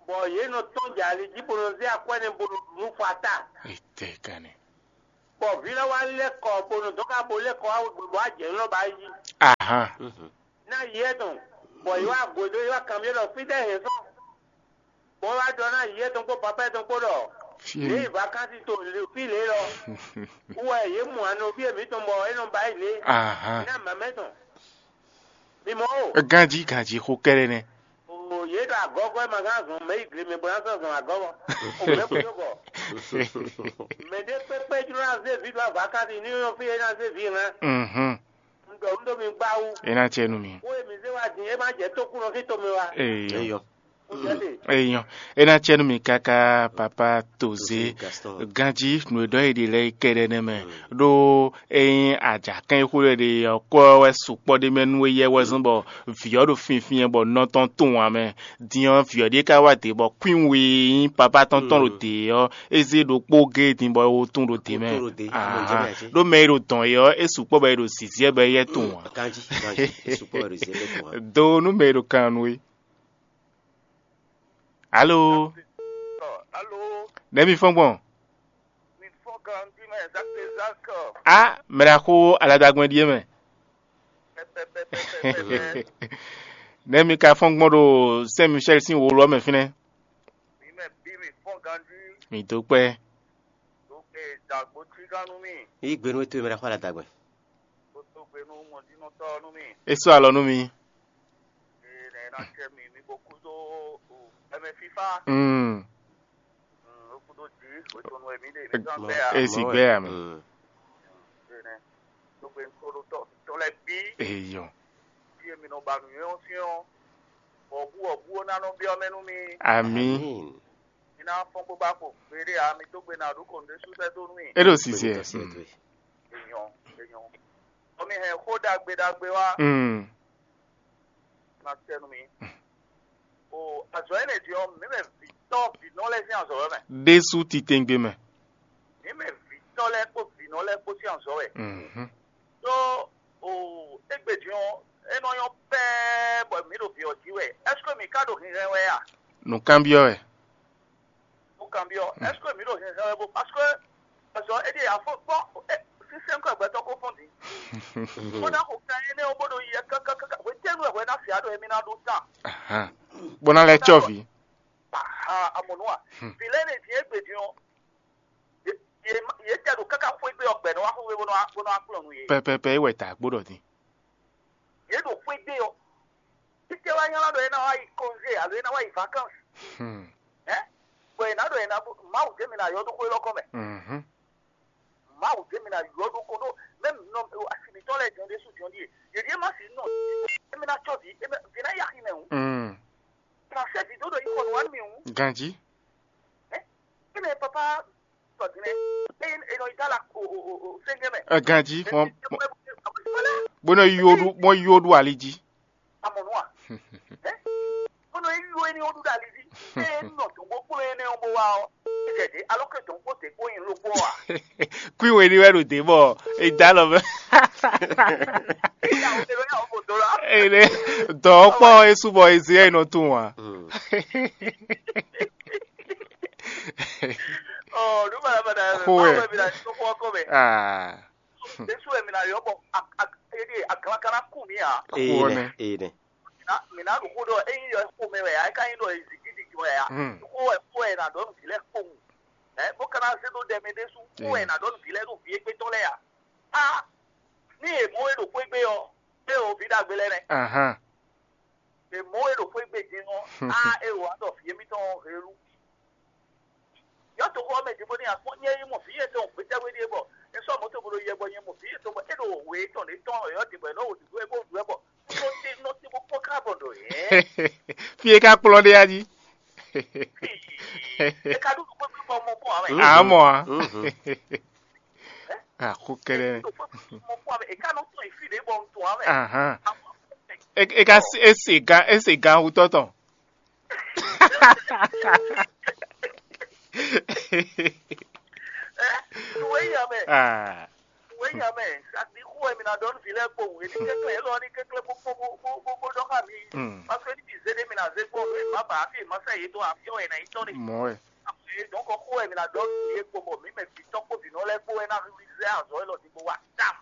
bɔ yě nɔ tɔ́n jɛ ali jí bó nɔ zé akwɛ́ nɛ́ bó nɔ ɖu nú fɔ ata. Etɛ́ kanɛ. Bɔ vǐ lɔ wá lɛ́ kɔ bó nɔ dɔn ká bó lɛ́ kɔ wá wegbe bɔ ajɛ nylɔ́ ba yi jí. Ahan. Ná yɛ tɔn, bɔ yě wá gǒdó yě wá kanbyɔ́ ɖɔ fítɛ́ hɛn sɔ́. Bɔ é wá ɖɔ ná yě tɔn kpó papá tɔn kpó ɖɔ Fí yě yi vakansi to fí lě lɔ. Wú wɛ yě mɔ anɔví e mǐtɔn bɔ é nɔ ba yi lě. Ahan. Ná mamɛ tɔn. Mi mɔ o. Ganjí ganjí xó kɛ́ɖɛ́ nɛ́. O yě ɖo agɔ́gɔ́ e ma gán zɔn mɛ yi gle mɛ bó ná sɔ́ zɔn agɔ́gɔ́. O mɛ kúndó gɔ. Mɛ ɖé kpékpé jló ná zé vǐ ɖo avakansi ní yɔn fí é ná zé vǐ hɛn. Mhm. Un ɖɔ un ɖó mi gbá wú. É ná cɛ nú mi. Xó e mi zé wá din é má jɛ tókúnɔ sín tomɛ wá. Eyɔ. Eyɔ. É ná cɛ nú mi káká papa Tozé. Ganjí nǔ e ɖɔ è ɖe lɛ́ɛ kɛɖɛ́ nɛ́ mɛ. Ɖó ényí ajǎkɛ́n e xó lɛ́ɛ ɖe ɔ́ kɔ wɛ sukpɔ́ ɖ'é mɛ nú éyɛ́ wɛ zɔ́n bɔ vǐ ɔ́ ɖo finfin bɔ nɔ tɔn tunwun ǎ mɛ. Din ɔ́, vǐ ɔ́ ɖíe ka wá dě bɔ kwín we e nyí papa tɔn tɔn ɖo dě ɔ́, é zé ɖokpó géé din bɔ é wó tún ɖo dě mɛ. Ɖó mɛ e ɖo dɔn é ɔ́, é sukpɔ́ bɔ é ɖo zǐzíɛ bɔ éyɛ́ tunwun ǎ. Ganjí, ganjí, é sukpɔ́ bɔ é ɖo zǐzíɛ bɔ é tunwun ǎ. Do nú mɛ e ɖo kan nú é. Alo. Alo. Nɛ̌ mi fɔ́n gbɔn? Mi fɔ́n ganjí mɛ Zak Zak. A mɛ ɖaxó aladagbɛn ɖíe mɛ. Nɛ̌ mi ka fɔ́n gbɔn ɖo Saint Michel sín wǒ lɔ mɛ fínɛ́? Mi mɛ bí mi fɔ́n ganjí. Mi dó kpɛ́. Dó ke dàgbò cí gán nú mi. Yí gbe nú towe mɛ ɖaxó aladagbɛn. Kó dó gbe nú mɔjínɔtɔ́ nú mi. É sɔ́ alɔ nú mi. Eye nɛ ná cɛ mi mi ko kú dó ɛmɛ fífá. Mm. Mm, ó kú dó jí, ó tó nu ɛmí ɖe mi tán gbɛ ya. É sì gbɛ ya mɛ. Mm. Eye nɛ, tó gbe nú tó tɔ tɔ lɛ bí. Eyɔ. Bí èmi nɔ ba nǔnywɛ́ ɔ́ sín ɔ́, bɔ bú ɔ́ bú ó ná nɔ byɔ́ mɛ nú mi. Àmín. Mi ná fɔ́n bó bá xo gbeɖé ǎ, mi dó gbe ná ɖó kɔn ɖésú sɛ́ dó nú mi. É ɖo sisɛ. Èèyàn, èèyàn. Ɔmí hɛn xó ɖagbe ɖagbe wá. Mm. Ná tɛ nú mi. O azɔ̌ énɛ́ din ɔ́, mǐ mɛ vǐtɔ́ vǐnɔ lɛ́ɛ sín azɔ̌ wɛ mɛ. Ɖésú titɛngbe mɛ. Mǐ mɛ vǐtɔ́ lɛ́ɛ kpó vǐnɔ lɛ́ɛ kpó sín azɔ̌ wɛ. Mhm. Ɖó o égbé din ɔ́, é nɔ nyɔ́ pɛ́ɛ́ bɔ mǐ ɖo vǐ ɔ́ jí wɛ. Ɛ́seke mǐ ka ɖo hinhɛn wɛ a? Nǔkanbyɔ́ wɛ. Mo kanbyɔ́, ɛ́seke mǐ ɖo hinhɛn wɛ bó? Parce que azɔ̌ é ɖíe afɔ kpɔ́ sínsɛ́n kɔ gbɛtɔ́ kó fɔ́n din. Bó ná xo kan énɛ́ ɔ́ bó ɖo yɛ kákákáká hwetɛ́nu wɛ hwɛ ná fia ɖo émí ná ɖó tán. Ahan. Bó ná lɛ́ cɔ́ vǐ. Aha, amɔ̌ nú a? Vǐ lɛ́ɛ ɖe din égbé din ɔ́, yě yě tɛ ɖo káká xwé gbé ɔ́ gbɛ nɔ wá xwé bó nɔ wá bó nɔ wá kplɔ́n nú yě. Pɛpɛpɛ é wɛ ta gbó ɖɔ din. Yě ɖo xwé gbé ɔ́, títí wá nylá ɖɔ é ná wá yi congé alo é ná wá yi vacances. Hmm. Ɛ bɔ è nǎ ɖɔ è nǎ bó Mawu jɛ mi ná yɔ ɖó xwé lɔkɔ mɛ. Mhm. Mawu jɛ mi ná yɔ ɖó ko ɖó mɛ nɔ asi mitɔn lɛ jɔn ɖésú jɔn ɖíe. Yě ɖíe má si nɔ émi ná tsɔ vǐ émi vǐ ná yi axi mɛ hǔn. Mm. Ná sɛ vǐ dó ɖo yi xɔ nǔ wá nú mi hǔn. Ganjí. Ɛ émi papa sɔ din lɛ eye e nɔ yi dala o o o o sɛnjɛ mɛ. Ɛ ganjí fɔn. Bó nɔ yi wo ɖu bó yi wo ɖu ali jí. Amɔnua. Ɛ bó nɔ yi wo éní wo ɖu ɖe ali jí. Eye nɔ dɔn bó kplɔ́n énɛ́ ɔ́ bó wá ɔ́. Jɛ dě alɔ ke dɔn kpó dě kpó nyi ló kpó a. Kwí wění wɛ ɖo dě bɔ è dá lɔ mɛ. Eye dɔn kpɔ esu bɔ ezi yɛ nɔ tún wa. Ɔ nu balabala yɛ mɛ. Xo wɛ. Báwo bɛ bi na tó kó ọkọ mɛ? Ah. Esu wɛ mi na yɔ bɔ a a edi aglakana kú mi a. Eyi nɛ eyi nɛ. Mina ɖo xó ɖɔ eyin yɔ xó mɛ wɛ a eka yin ɖɔ ezigi didi wɛ a. Xó wɛ xó wɛ na ɖɔ nu vi lɛ kpowun. Ɛ bó kana zé ɖó ɖɛ mɛ ɖésú xó wɛ na ɖɔ nu vi lɛ ɖo vi égbé tɔn lɛ a. A ní èmɔ wɛ ɖo xwé gbé ɔ, é o vi ɖagbe lɛ nɛ. Ahan. Èmɔ wɛ ɖo xwé gbé din ɔ, a é o wa ɖɔ vi émítɔn helu. Yɔ to xɔ mɛ din bó ní akpɔ́n nyɛ yi mɔ vi yɛtɔn gbétɛwé ɖíe bɔ é sɔ́ mɔ̌ tɔn bó ɖo yɛ bɔ nyɛ mɔ vi yɛtɔn bɔ é ɖo wě tɔn ɖě tɔn yɔ ɖě bɔ é nɔ wò ɖǐɖó é bó ɖu ɛ bɔ nɔ te nɔ te bó kpɔ́n ká bɔ ɖɔ yɛ. Fí e ka kplɔ́n ɖe ya jí. É ka ɖo nukpé gbé bɔ mɔ kpɔ́n amɛ. Amɔ a. Àkó kɛlɛ. Mɔ kpɔ́n amɛ é ka nɔ tɔn yi fí ɖě bɔ un tɔn amɛ. Ahan. E e ka se e se gan e se gan wutɔ tɔn. Nǔ e nya mɛ, Ah, nǔ e nya mɛ, sadi xó wɛ mi ná ɖɔ nú vǐ lɛ́ɛ kpowun, é ní kɛnklɛ́n élɔ́ ní kɛnklɛ́n bó bó bó bó bó bó ɖɔ xá mi. Mm. Parce que ní mi zé ɖé mi ná zé kpɔ́n nú e má ba afi e má sɛ yě dó afi ɔ́ wɛ ná yi tɔ́n ní. Mɔ̌ wɛ. Donc xó wɛ mi ná ɖɔ nú vǐ e kpo bɔ mǐ mɛ vǐ tɔ́ kpó vǐ nɔ lɛ́ɛ kpó wɛ ná zé azɔ̌ élɔ́ ɖi bó wa tam.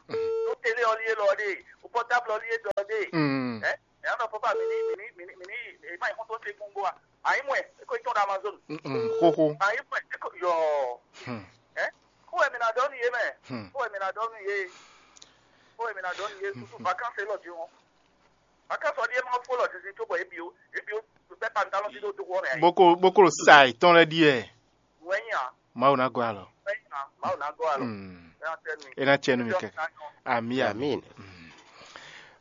Tó télé ɔ́ lí élɔ́ ɖe, o pɔtábl ɔ́ lí é ɖɔ ɖe. Mm. Ɛ ɛ nɔ papa mi ní mi ní mi ní mi ní èyí má nyí xɔ́ntɔn ṣe gbogbo a? Àyí mɔ ẹ, é kó tɔn ɖo Amazon. Mm, mm, xóxó. Àyí mɔ ẹ, é kó yɔ. Hmm. Ɛ kó wɛ mi ná ɖɔ nú yé mɛ. Hmm. Kó wɛ mi ná ɖɔ nú yé. Kó wɛ mi ná ɖɔ nú yé. Susu vacances lɔ di wọn. Vacances ɔ́ ɖíe má fó lɔ didi tó bɔ ebi o ebi o bɛ pantalon ti ɖo dó wɔ mɛ. Boko boko sa ìtɔn lɛ ɖíɛ. Wɛ nya. Mawu ná gɔ́ alɔ. Wɛ nya. Mawu ná gɔ́ alɔ. Mm. Ɛ ná tɛ nú mi. E ná tsɛ nú mi kɛ. Ami ami. Amin. Mm.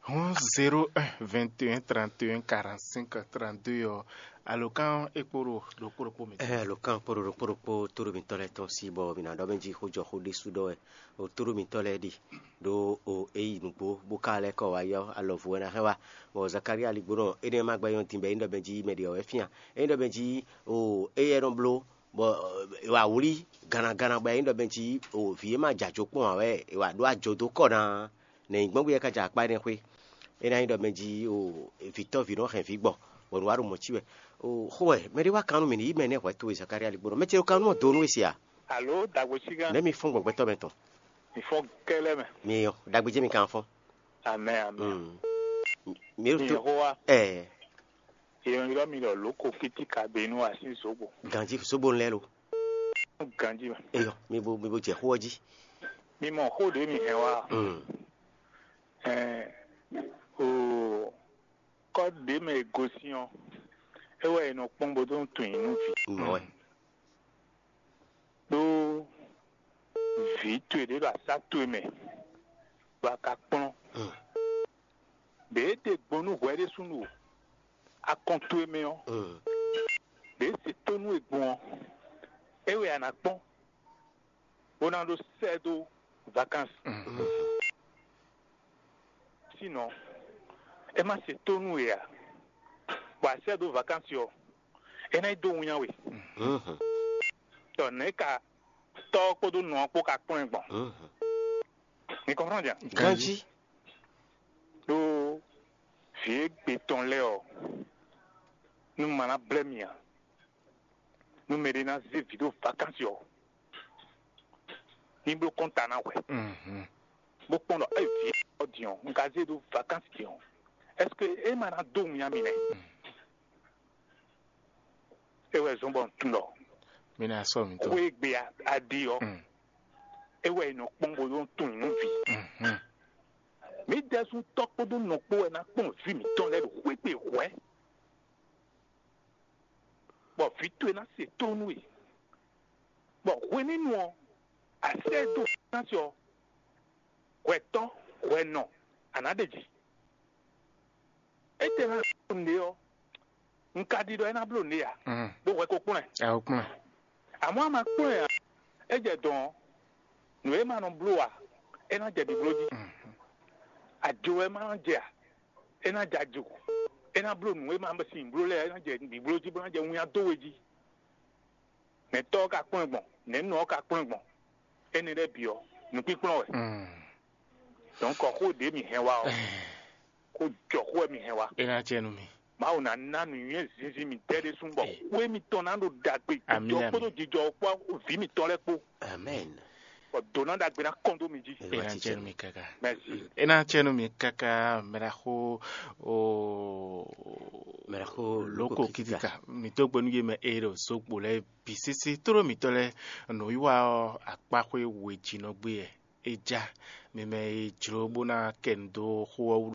Hun zéro un vingt et un trente et un quarante-cinq trente-deux ɔ́, alɔkan e kpo ɖo ɖokpó ɖokpó mi. Ɛ alɔkan kpo ɖo ɖokpó ɖokpó tóɖo mitɔn lɛ́ɛ tɔn sí bɔ mi ná ɖɔ mɛ jí xó jɔ xó ɖésú ɖɔ wɛ. O tóɖo mitɔn lɛ́ɛ ɖi ɖo o e yi nǔgbó bó ka lɛ́ kɔ wá yɔ alɔvu wɛ ná hɛn wá. Bɔ Zakaria ligbónɔ énɛ́ ma gbɛ́ nyɔ́ din bɔ é nyí ɖɔ mɛ jí mɛ ɖě ɔ́ wɛ fían. É nyí ɖɔ mɛ jí o éyɛ́ nɔ bló bɔ è wǎ wlí gannaganna bɔ é nyí ɖɔ mɛ jí o vǐ e ma jɛ ajo kpɔ́n ǎ wɛ è wǎ ɖó ajo dó kɔ ná. Nɛ̌ nyí gbɔn bó yɛ ká jɛ akpá énɛ́ xwé? É ná nyí ɖɔ mɛ jí o vǐtɔ́ví nɔ hɛn vǐ gbɔ bɔ nǔ wa ɖo mɔ̌ cí wɛ. O xó wɛ mɛ ɖé wá kan nú mì ní yí mɛ nɛ́ hwɛ towe Zakaria ligbónɔ mɛ ce ɖo kan nú mɔ do nú we se a? Alo dagbo sigan. Nɛ̌ mi fɔ́n gbɔn gbɛtɔ́ mɛ tɔn? Mi fɔ́n kɛlɛ mɛ. Mi yɔ dagbe jẹ́ mi kan fɔ́n. Amɛ amɛ. Mm. Mi Mi ɖo yɔ to xó wa. Ɛɛ. Yɔ ylɔ mi lɔ loko kiti kabenu asi zobo. Ganji sobo lɛ lo. Ganji mɛ. Eyɔ mi bo mi bo jɛ xó ɔ́ jí. Mi mɔ xó ɖě mi hɛn wa. Mm. Ɛɛ o kɔ ɖě mɛ e gosín ɔ́, é wɛ è nɔ kpɔ́n bó dó tunwun nú vǐ. Mɔ wɛ. Ɖó vǐ towe ɖě ɖo asá towe mɛ, bɔ a ka kplɔ́n. Mm. Ɖě e ɖe gbɔn nú hwɛ ɖésúnɔ ɖo akɔn towe mɛ ɔ́, Mm. ɖě e se tónú e gbɔn ɔ́, é wɛ a nǎ kpɔ́n, bó ná ɖó sɛ́ dó vakansi. Mm. Sinɔ, é má se tónú e ǎ, bɔ a sɛ́ dó vakansi ɔ́, é ná yi dó winnyá we. Mhm. Tɔ nɛ̌ ka tɔ́ ɔ́ kpódó nɔ ɔ́ kpó ka kplɔ́n ɛ gbɔn? Mhm. Mi kɔnfrɔ́n jan? Ganji. Ɖó vǐ e gbe tɔn lɛ́ɛ ɔ́, nú ma ná blɛ́ mi ǎ. Nú mɛɖé ná zé vǐ ɖo vakansi ɔ́, ní bló kɔ́nta ná hwɛ, Mhm. bó kpɔ́n ɖɔ é vǐ ɔ́ din ɔ́, un ka zé ɖó vakansi din ɔ́, ɛ́seke é ma ná dó winnyá mi nɛ́? É wɛ zɔ́n bɔ un tunwun ɖɔ Mi ná sɔ mi tó. Xwé e gbe a- a ɖi ɔ́, Mm. é wɛ è nɔ kpɔ́n bó nɔ tunwun nú vǐ. Mhm. Mǐ ɖɛ́sú tɔ́ kpódó nɔ kpó wɛ ná kpɔ́n vǐ mǐtɔn lɛ́ɛ ɖo xwé gbe hwɛ̌, bɔ vǐ towe ná se tónú we, bɔ hwenɛ́nu ɔ́, a sɛ́ ɛ dó fínásí ɔ́, hwɛtɔ́, hwɛnɔ, a nǎ ɖe jǐ. Étɛ́ ná bló nǔɖé ɔ́, un ka ɖi ɖɔ é ná bló nǔɖé ǎ, Mm. ɖó hwɛ ko kplɔ́n ɛ. Ɛ o kplɔ́n. Amɔ̌ a ma kplɔ́n ɛ ǎ, é jɛ dɔ̌n ɔ́, nǔ e ma nɔ bló ǎ, é ná jɛ ɖibló jí. Mm. Ajo wɛ ma nɔ jɛ ǎ, é ná jɛ ajo. É ná bló nǔ e ma sin bló lɛ́ɛ, é ná jɛ ɖibló jí, bó ná jɛ winnyá dó we jí. Nɛ̌tɔ́ ɔ́ ka kplɔ́n ɛ gbɔn, nɛ̌nɔ ɔ́ ka kplɔ́n ɛ gbɔn, énɛ́ lɛ́ɛ bǐ ɔ́, nǔkpínkplɔ́n wɛ. Mm. Donc xó ɖě mǐ hɛn wá ɔ́, xó jɔ xó wɛ mǐ hɛn wá. É ná acɛ nú mi. Mawu ná ná nǔnywɛ́ zinzin mǐtɛn ɖésú bɔ Ee. Xwé mitɔn ná ɖo ɖagbe Amì, jijɔ amì. Kpódó jijɔ kpó vǐ mitɔn lɛ́ɛ kpó. Amen. Bɔ dǒ ná ɖagbe ná kɔn dó mi jí. É ná acɛ nú mi káká. Merci. É ná acɛ nú mi káká mɛɖaxó o Mɛɖaxó lóko Lóko Kikika. Kikika. Mi tó gbenu yé mɛ eye ɖo sokpo lɛ bi sese tló mitɔ lɛ nǔwiwa ɔ akpaxwe wejinɔ gbé yɛ. É já mi mɛ e jló bó ná kɛ nu dó xó ɔ́ wú.